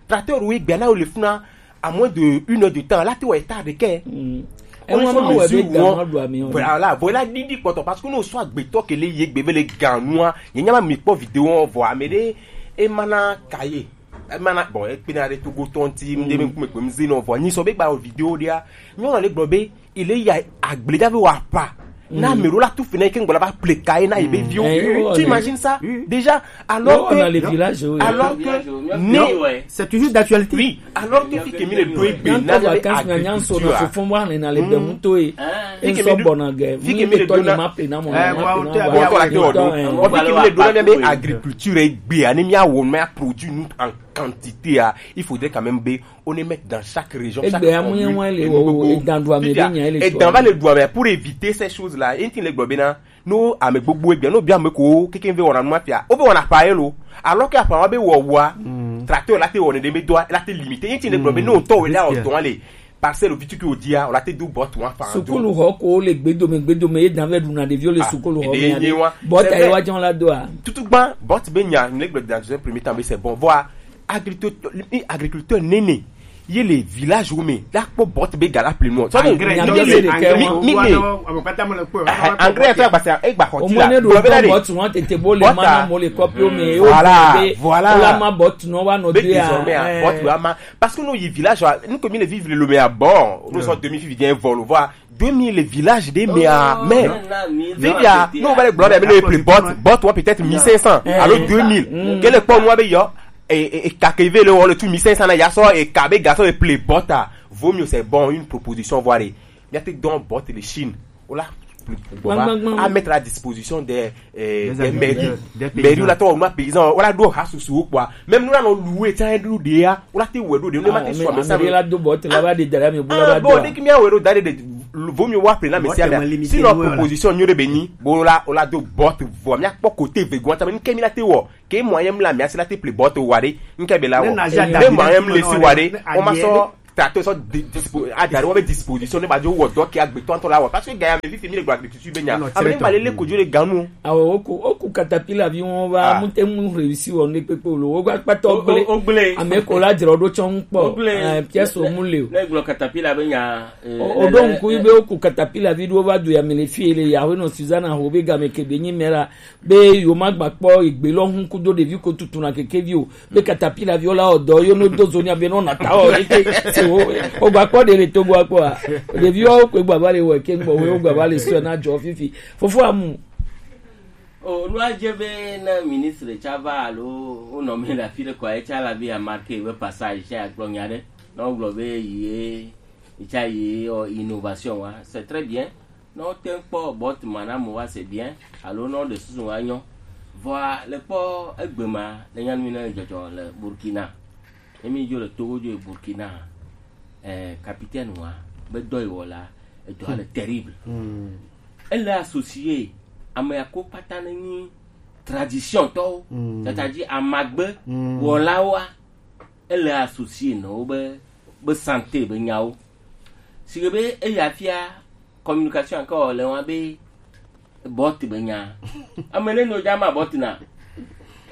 Tracteur wo egbea na wo le funa à moins de une heure de temps, la te wɔ hectare ɖekɛ. Mm. Ewɔ ma wɔ be ganu aɖu ami o. Voilà, voilà, didi kpɔtɔ, parce que no so agbetɔ ke le ye gbe be le ganua, ye nyama mi kpɔ vidéo vɔ ame ɖe e mana kaye. E mana, bon, e kpena ɖe Togo tɔnti, mde be kume kpem zi no vɔ. Ni so be gba vidéo ɖea. Nyɔnu le gblɔ be, il est ya agble ɖa be wa pa. Na ame ɖewo la tu fene ke ŋgbɔ la va ple ka ye na ye be viwo. Eh, tu imagines ça? Déjà, alors que, dans les villages, oui, alors que, non, c'est toujours d'actualité. Oui, alors que fi ke mi le do egbe na be agriculture. Fofo wa ne na le be muto e. Fi ke mi le do na, fi ke mi le do na be agriculture egbe, ani mi a wo, mi a produit nous en quantité, ah, il faudrait quand même be on est mettre dans chaque région, chaque commune, e dan do ame be nya ele. Et dans va le do ame pour éviter ces choses-là. Enti le gblɔ be na, no ame gbogbo egbea, no bia ame ko keke ve wɔna numa fia. O ve wɔna pa elo. Alors que apa wa be wɔ wa, tracteur la te wɔne de be do, la te limité. Enti le gblɔ be no to we la o to le parcelle vitu ki o dia, o la te do bot wa fa. Sukulu xɔ ko le gbedome, gbedome ye dan ve ɖuna ɖeviwo le sukulu xɔ me. Bot a ye wa jɔn la do a. Tutu gban bot be nya, le gblɔ dans un premier temps be c'est bon. Voilà. Agriculteur, agriculteur nene ye le village wo me la kpɔ bot be ga la ple nu. Engrais, mi, mi, mi, mi, engrais fɛ gbasa e gba xɔ ti la. Bot wan tete bo le ma na mo le kɔpi o me. Voilà, voilà. La ma bot no wa no be désormais, bot wa ma. Parce que no yi village wa, nous comme le vivre le me a bon, nous sommes demi fi vient vol, voilà. Deux mille village de mea, mais vivia no va le gblɔ ɖe mi le ple bot, bot wa peut-être mille cinq cents alo deux mille. Ke le kpɔ nua be yɔ, e, e, e ka ke ve le wɔ le tu mille cinq cents na ya sɔ e ka be ga sɔ e ple bot a. Vaut mieux c'est bon, une proposition, voilà. Mia te dɔn bot le Chine. Ola Gbɔva, a mettre à disposition des, euh, des mairies. Mairie la tɔ wɔ nua paysan wala ɖo ha susu wo kpɔa. Même nua nɔ louer tsa ɖo ɖe ya wala te wɔ ɖo ɖe ne ma te sɔ amesa me. La do bɔ te la va de dara mi bo la va do. Bon, ne ki mi awɛ ɖo da ɖe de, vaut mieux wa pe na amesa me. Sinon proposition nyo ɖe be nyi bo la wala do bɔ te vɔ mi akpɔ kote ve gɔn tsa me ke mi la te wɔ ke moyen mi la mi asi la te ple bɔ te wa ɖe nke be la wɔ ne moyen mi le si wa ɖe o ma sɔ. Tato sɔ di- dispo adari wo be disposition ne ba jo wɔ dɔ ke agbetɔ ntɔ la wɔ parce que gaya me fifi mi le gba agriculture be nya ame ne ba le le kojo le ganu. Awo oku oku katapila vi wọn va mu te mu réussi wọn ne kpekpe lo wo gba kpatɔ gble. Ogble. Ame ko la dzrɔ ɖo tsɔ ŋkpɔ. Ogble. Eh, pièce o mu le o. Ne gblɔ katapila be nya. O ɖo ŋku yi be oku katapila vi ɖo va do ya me le fi le ya wo nɔ Susanna ho be game ke be nyi mera be yo ma gba kpɔ egbe lɔ ŋu kudo ɖevi ko tutu na keke vi o. Be katapila viwo la wɔ dɔ yo no do zo ni abe no na ta wɔ eke se wo. O gba kpɔ de le Togo akpɔ a. Ɖeviwo ko gba va le wɔ ke ŋgbɔ wo gba va le sɔ na jɔ fifi. Fofo amu. O nu adze be ne ministre tsa va alo wonɔ mi le afi ɖe kɔa etsa la be amarke be passage tsa agblɔ nya ɖe na wogblɔ be yi ye etsa yi innovation wa c'est très bien. Ne wote ŋu kpɔ bɔt ma na mo wa se bien alo ne woɖe susu wa nyɔ. Vɔa le kpɔ egbe ma le nyanu ne dzɔdzɔ le Burkina. Ne mi dzo le Togo dzo yi Burkina, eh, capitaine wa be dɔ yi wɔ la, edɔ le terrible. Ele associé ame ya ko kpata ne nyi tradition tɔwo, c'est-à-dire amagbe wɔlawoa, ele associé nɔ wo be be santé be nyawo. Si ke be eya fia communication ke wɔ le wa be bɔt be nya. Ame ne no dza ma bɔt na.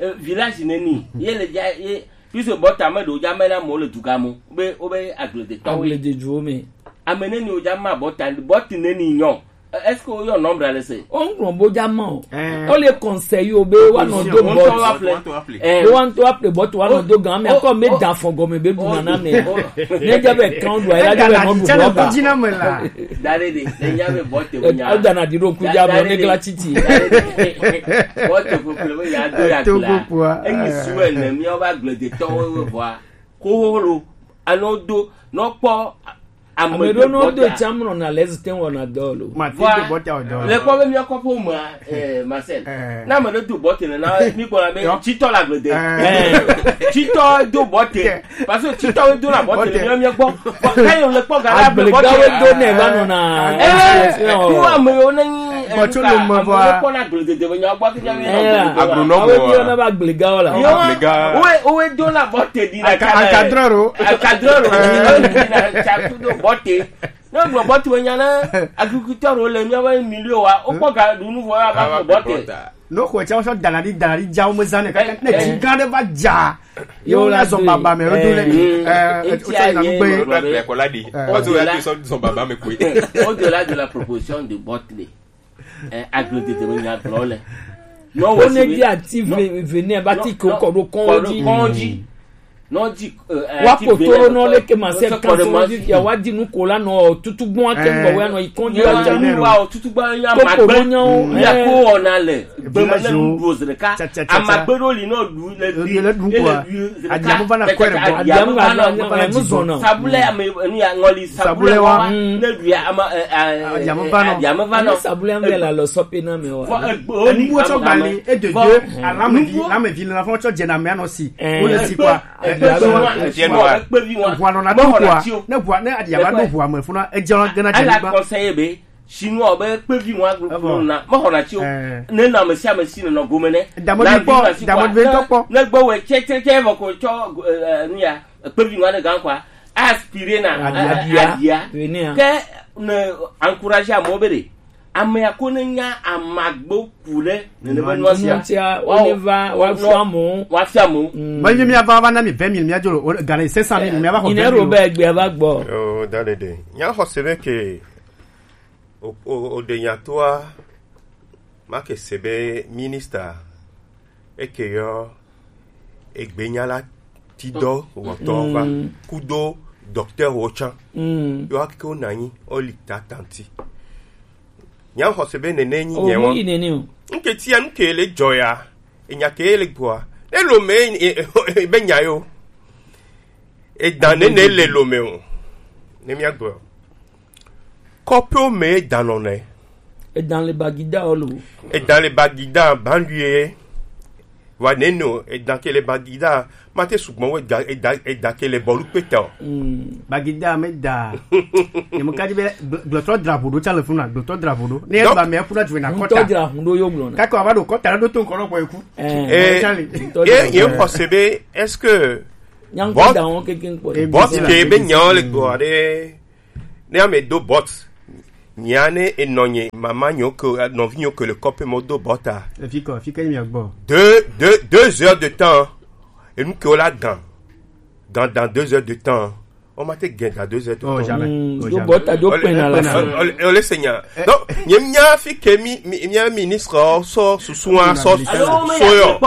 Eh, village ne ni ye le dza ye puisque bɔt ame do dza me na mo le duga mo be o be agble de tɔwo. Agble de duo me. Ame ne ni o dza ma bɔt bɔt ne ni nyɔ. Est-ce que woyɔ nombre ale se? Woŋlɔ bo dza ma o. Wole conseil wo be woanɔ do bɔt. Be woanɔ to aple bɔt woanɔ do gan me akɔ me da fɔ gɔme be bu nana me. Ne dza be kan do ayila dza be nɔ du bɔ ba. Da ɖe ɖe ne nya be bɔt wo nya. Eda na di ɖo ku dza me ne gla titi. Bɔt wo kple me ya do ya gla. Enyi suwe ne mi o ba gble de tɔwo we bɔa. Ko ho lo. Ano do no kpɔ. Ame ɖo no do tsamlɔ na le zite wɔna dɔ lo. Ma ti do bɔtɛ o dɔ. Le kpɔ be mi kɔ po ma, eh, Marcel. Na ame ɖe do bɔtɛ na mi gbɔ na be titɔ la gbe de. Titɔ do bɔtɛ. Parce que titɔ do na bɔtɛ le mi mi gbɔ. Bɔ ka yo le kpɔ ga la be bɔtɛ. Agble ga do ne va no na. Eh, tu ame yo ne ni bɔtɛ lo me va. Kpɔ na gble de be nya gbɔ ke nya mi. Agronome wa. Na ba gble ga la. Yo, we, we do na bɔtɛ di na. Encadreur o. Encadreur o. Encadreur o. Encadreur o. Bɔte. Ne gblɔ bɔte wònya na agriculteur wo le míaƒe milieu wa, wokpɔ ga ɖu nu vɔ ya va ƒle bɔte. Ne xɔ tsa sɔ dana ɖi dana ɖi dza wo me zã ne kaka ne dzi gã ɖe va dza. Yo la zɔn baba me wo do le. Eh, o tsa na gbe. Wo do la de la proposition de bɔte. Eh, aglo tete me nya gblɔ le. No wo ne di ati vene ba ti ko kɔ do kɔn di. Kɔn di. No di. Wa ko toro no le ke ma se kan so di ya wa di nu ko la no tutu gbon ake ngbo we no ikɔn di wa ja. Wa tutu gbon ya ma gbe. Ya ko ona le. Be ma le nu do zreka. Ama gbe do li no du le du. Le du ko. Adiamu va na kwere bo. Adiamu va na kwere bo. Sabule ame ni ya ngoli sabule wa. Ne du ya ama. Adiamu va no. Sabule ame la lo sope na me wa. Fɔ egbe wo ni. Nuwo tsɔ gbali e de de alame vi alame vi la fɔ tsɔ dze na me anɔ si. Wo le si kwa. Egbe vi wa. Egbe vi wa. Ʋua nɔ na do ʋua. Ne ʋua ne aɖia va do ʋua me funa edze gena dze. Ala conseiller be chinois be kpevi wa glo na me xɔ na tsi o. Ne na me sia me si nɔ gome ne. Damodi kpɔ damodi ve tɔ kpɔ. Ne gbe we tse tse tse vɔ ko tsɔ nu ya kpevi wa ne gan kwa. Aspire na adia ke ne encourager amewo be ɖe amea ko ne nya amagbo ku ɖe nene be nua sia. Tia wo ne va wa fia mo wa fia mo. Ba mi mi ava va na mi vingt mille mi adzo lo gana cinq cent mille mi ava xɔ. Ine ro be gbe ava gbɔ. Oh, da de de. Nya xɔ se be ke o o o de nya toa. Ma ke se be minister eke yɔ egbenya la ti dɔ wɔtɔ va kudo docteur wo tsã. Yɔ ake wo nanyi oli ta tanti. Nya xɔse be nene nyi nye wo. Nke tia nke le dzɔ ya. Enya ke le gbɔa. Ne lo me be nya yo. Edan nene le lo me o. Ne mia gbɔ. Kɔƒewo me danɔ nɛ. Et dans les Bagida, oh, lo. Et dans les Bagida, banlieue, wa neno, et dans que les Bagida, mate souvent, ouais, et dans, et dans que les Bolukpeta. Hmm. Bagida, mais da. Ne mo kadi be, glo-, glotrɔ drapeau do, tsa le funa, glotrɔ drapeau do. Ne Donc, ba me funa tu na Ŋutɔ kɔta. Dzra ŋu ɖo yo gblɔ na. Kaka wa do kɔta do to nkɔlɔ ko eku. Eh. Eh, Charlie. Ŋutɔ eh, dzra ye ŋu. Kɔ se be, est-ce que Nyaŋkɔ Bot-, da wɔn keke ŋkpɔ. Eh, Bot ke be nyawo le gbɔ ɖe. Ne ame do Bot. Nya ne enɔ nye mama nyo ke, nɔvi nyo ke le kɔpe mo do Bot a. Efi kɔ, fi ke mi gbɔ. Deux, deux, deux heures de temps. Et nous que la gan. Gan dans deux heures de temps. On m'a été gain dans deux heures de Oh, temps. Jamais. Hmm, Oh, do jamais. Bot a do Ole, pena la ole, fin. Ole, ole, Seigneur. Donc, nye mia fi ke mi, mi, mia ministre, oh, so, susu, ah, so, so, so, yo.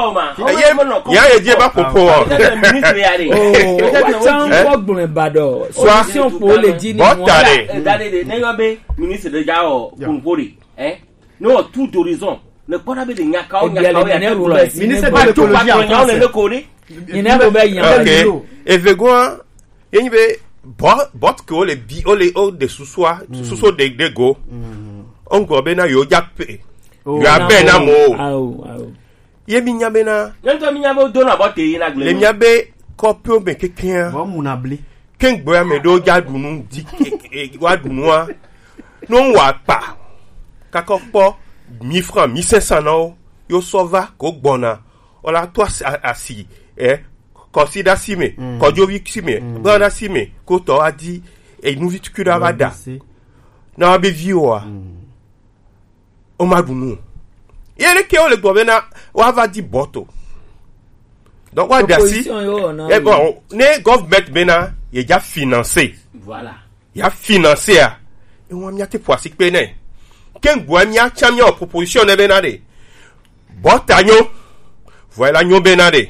Eye, ya ye die ba popo, oh. Peut-être ministre ya de. Oh, peut-être wa tsa ŋkɔ gblɔe ba ɖo. Soit solution pour le dîner. Bot a de. Eh, da de de, ne yɔ be ministre de ja o, Yeah. Kunpori, eh? No, tout d'horizon. Ne kpɔ na be de nyakawo, Ebia le nyakawo ya ne te Robert gblɔ. Si Ministre ne de l'écologie en Nyakawo ne français. Ne ko ni. Ni ne ko be yan. Ok. Evegua, ye nyi be Bot, Bot ke o le bi, o le, o de susua, susu de, de go. O ŋgɔ be na yo ja pe. Oh. Yo a be na mo. Awo, awo. Ye mi nya be na. Ye ŋutɔ mi nya be wodo na Bot yi na gble Le mi. Mia be kɔpewo me kekea. Bɔ mu na bli. Ke ŋgbe ame ɖewo dza ɖu nu di, e, e, wa ɖu nua. No ŋu akpa. Kakɔ kpɔ mi fran mi sɛsan na wo. Yo sɔ va ko gbɔna. Ola to asi, a-, asi, eh, kɔsi ɖe asi me, Mm. kɔdzovi si me, Mm. gba ɖe asi me, ko tɔ wa di, e, nuvi tukui ɖe va da. Lɔ bise. Na wa be vi wa. Mm. O ma ɖu nu. Ye ɖe ke wo le gbɔ be na wa va di Bot o. Donc wa da si. Proposition yo na. Eh, bon, ne government be na ye ja financer. Voilà. Ya financer a. E wa mia te po asi pe ne. Ke ŋgbe mia tsa mia proposition ne be na de. Bot a nyo. Voilà nyo be na de.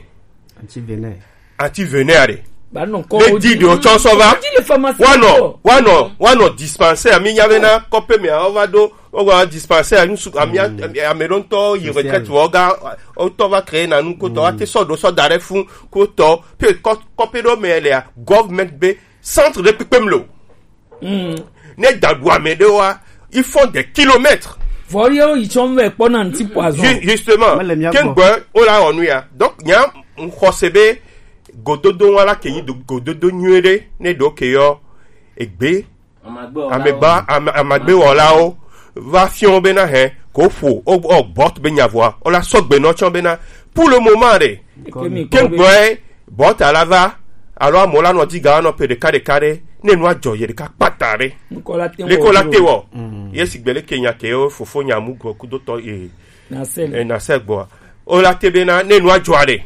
Anti venin. Anti venin a de. Ba non ko. Le di de o tsɔ sɔ va. Wa nɔ, wa nɔ, wa nɔ dispensaire mi nya be na kɔpe me a o va do, o va dispensaire nu su ami, mm, ami, ame ɖo ŋutɔ yi Social. Retraite vɔ ga, o tɔ va créer na nu ko tɔ, mm, a te sɔ do sɔ da ɖe fun ko tɔ, pe kɔ, kɔpe ɖo me le a, government be centre de kpekpem lo. Mm. Ne da ɖu ame ɖe wa, ils font des kilomètres. Vɔ ye wo yi tsɔ vɛ kpɔ na ŋti poison. Ju-, justement, mele mia gbɔ. Ke ŋgbe wo la wɔ nu ya. Donc, nya ŋxɔse be gododo wa la ke yi do-, gododo nyuie ɖe, ne ɖo ke yɔ egbe. Amagbe wɔlawo. Amegba, ame, amagbe wɔlawo va fiɔ be na hɛ, ko ƒo, o, o, Bot be nya vɔa, o la sɔgbe nɔ tsɔ be na, pour le moment ɖe, Ke mi ke kɔ be gbɔe, Bot a la va, alo amewo la nɔ di ga nɔ pe ɖeka ɖeka ɖe, ne nua dzɔ ye ɖeka kpata ɖe. Ŋkɔ la te Leko la wɔ te wɔ. Mm. Ye sigbe leke nya ke wo fofo nya mu gbɔ kudotɔ ye. Na se. E, na se gbɔa. O la te be na, ne nua dzɔ ɖe.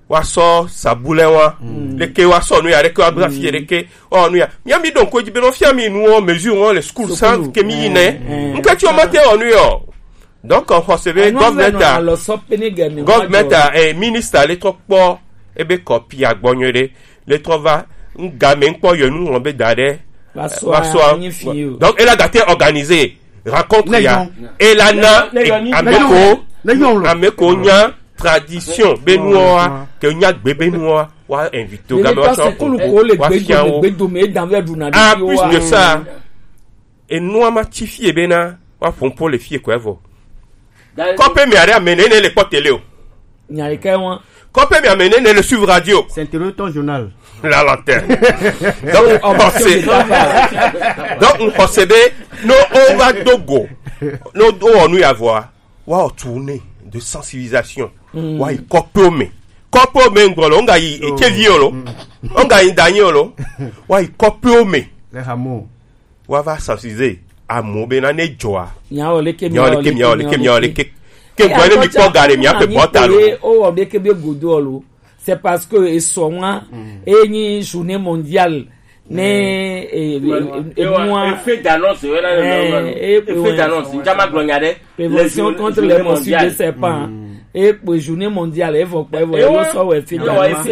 Wa sɔ sabulɛ wa. Mm. Leke wa sɔ nu ya ɖeke wa bla fi ɖeke. O nu ya. Mia mi ɖo ŋko dzi be nɔ fia mi nu o mesure o le school sans que mi yi nɛ. Mm. Ŋke tsi o ma te o nu yɔ. Donc, on xɔse be government a, government a, eh, ministre le trɔ kpɔ ebe kɔpi agbɔ nyuie ɖe, le trɔ va, ŋga me ŋkpɔ yɔ nu ŋlɔ be da ɖe, va sɔ, va sɔ. Donc, elle a gâté organisé rencontre ya, elle a na, ame ko, ame ko nya tradition be nuwa, ke nya gbe be nuwa, wa invité o ga be wa sɔ ko, wa fia wo. Ah, plus de ça, enua ma tsi fie be na, wa ƒo ƒo le fie kɔe vɔ. Kɔƒe me aɖe ame nene le kpɔ tele o. Nya yi ke wa. Kɔƒe me ame nene le suivre radio. C'est intérieur ton journal. La lanterne. Donc, on pense. Donc, on pense be, no, on va dogo. No, on nous y avoir. Wa o tournée de sensibilisation. Mm. Wa yi kɔƒe me. Kɔƒe me ŋgɔ lo, on ga yi, oh, ekevi o lo. Mm. On ga yi danyi o lo. Wa yi kɔƒe me. Les hameaux. Wa va sensibiliser amewo be na ne dzɔa. Miawɔ leke, miawɔ leke, miawɔ leke, miawɔ leke. Ke gbɔ ne mi kpɔ ga ɖe mia ƒe bɔta lo. O wɔ leke be godo lo. C'est parce que esɔ wa, mm, e nyi journée mondiale. Ne, mm, e, e, e, e, nua. Effet d'annonce, e, e, effet d'annonce. Njama gblɔ nya ɖe. Prévention contre les morsures de serpent. Mm. E kpe journée mondiale, e vɔ kpɔ, e vɔ, e sɔ wɔ effet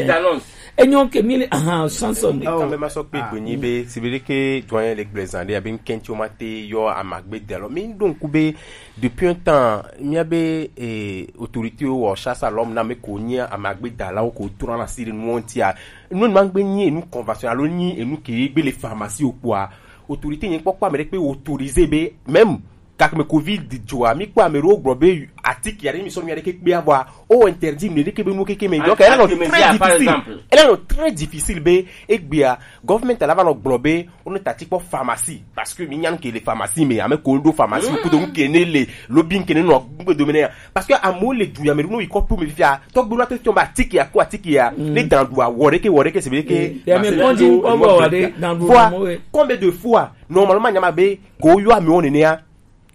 d'annonce. Enyo ke mi le, ahan, chanson. Quand même, ma sɔ kpe gbe nyi be, si be ke doyen le gblezan de, abe nkɛntsi o ma te yɔ amagbe de. Alors, mi donc be, depuis un temps, mi a be, eh, autorité o wɔ chasse à l'homme na me ko nyi amagbe da la o ko trɔ na si de nuwo ŋti a. Nu ma gbe nyi enu convention, alo nyi enu ke gbe le pharmacie o kpɔa. Autorité nyi kpɔkpɔ ame ɖe kpe autorisé be, même Gake me covid dzo a, mi kpɔ ame ɖewo gblɔ be atike aɖe mi sɔ nu aɖeke kpea vɔa, o interdit nu ɖeke be nu keke me. Donc elle est très difficile. Elle est très difficile be egbea government la va nɔ gblɔ be wo ne tati kpɔ pharmacie, parce que mi nya nu ke le pharmacie me, ame ko ɖo pharmacie kudo nu ke ne le lobi nu ke ne nɔ gbe dome ne ya. Parce que amewo le du ya me ɖo no yi kɔpu me fia, tɔgbe la to tiɔn ba atike ya ko atike ya ne dan du awɔ ɖeke wɔ ɖeke se be ke. Ya me kɔndi kɔ bɔ wa ɖe dan du. Combien de fois normalement nyama be ko yɔ amewo nenea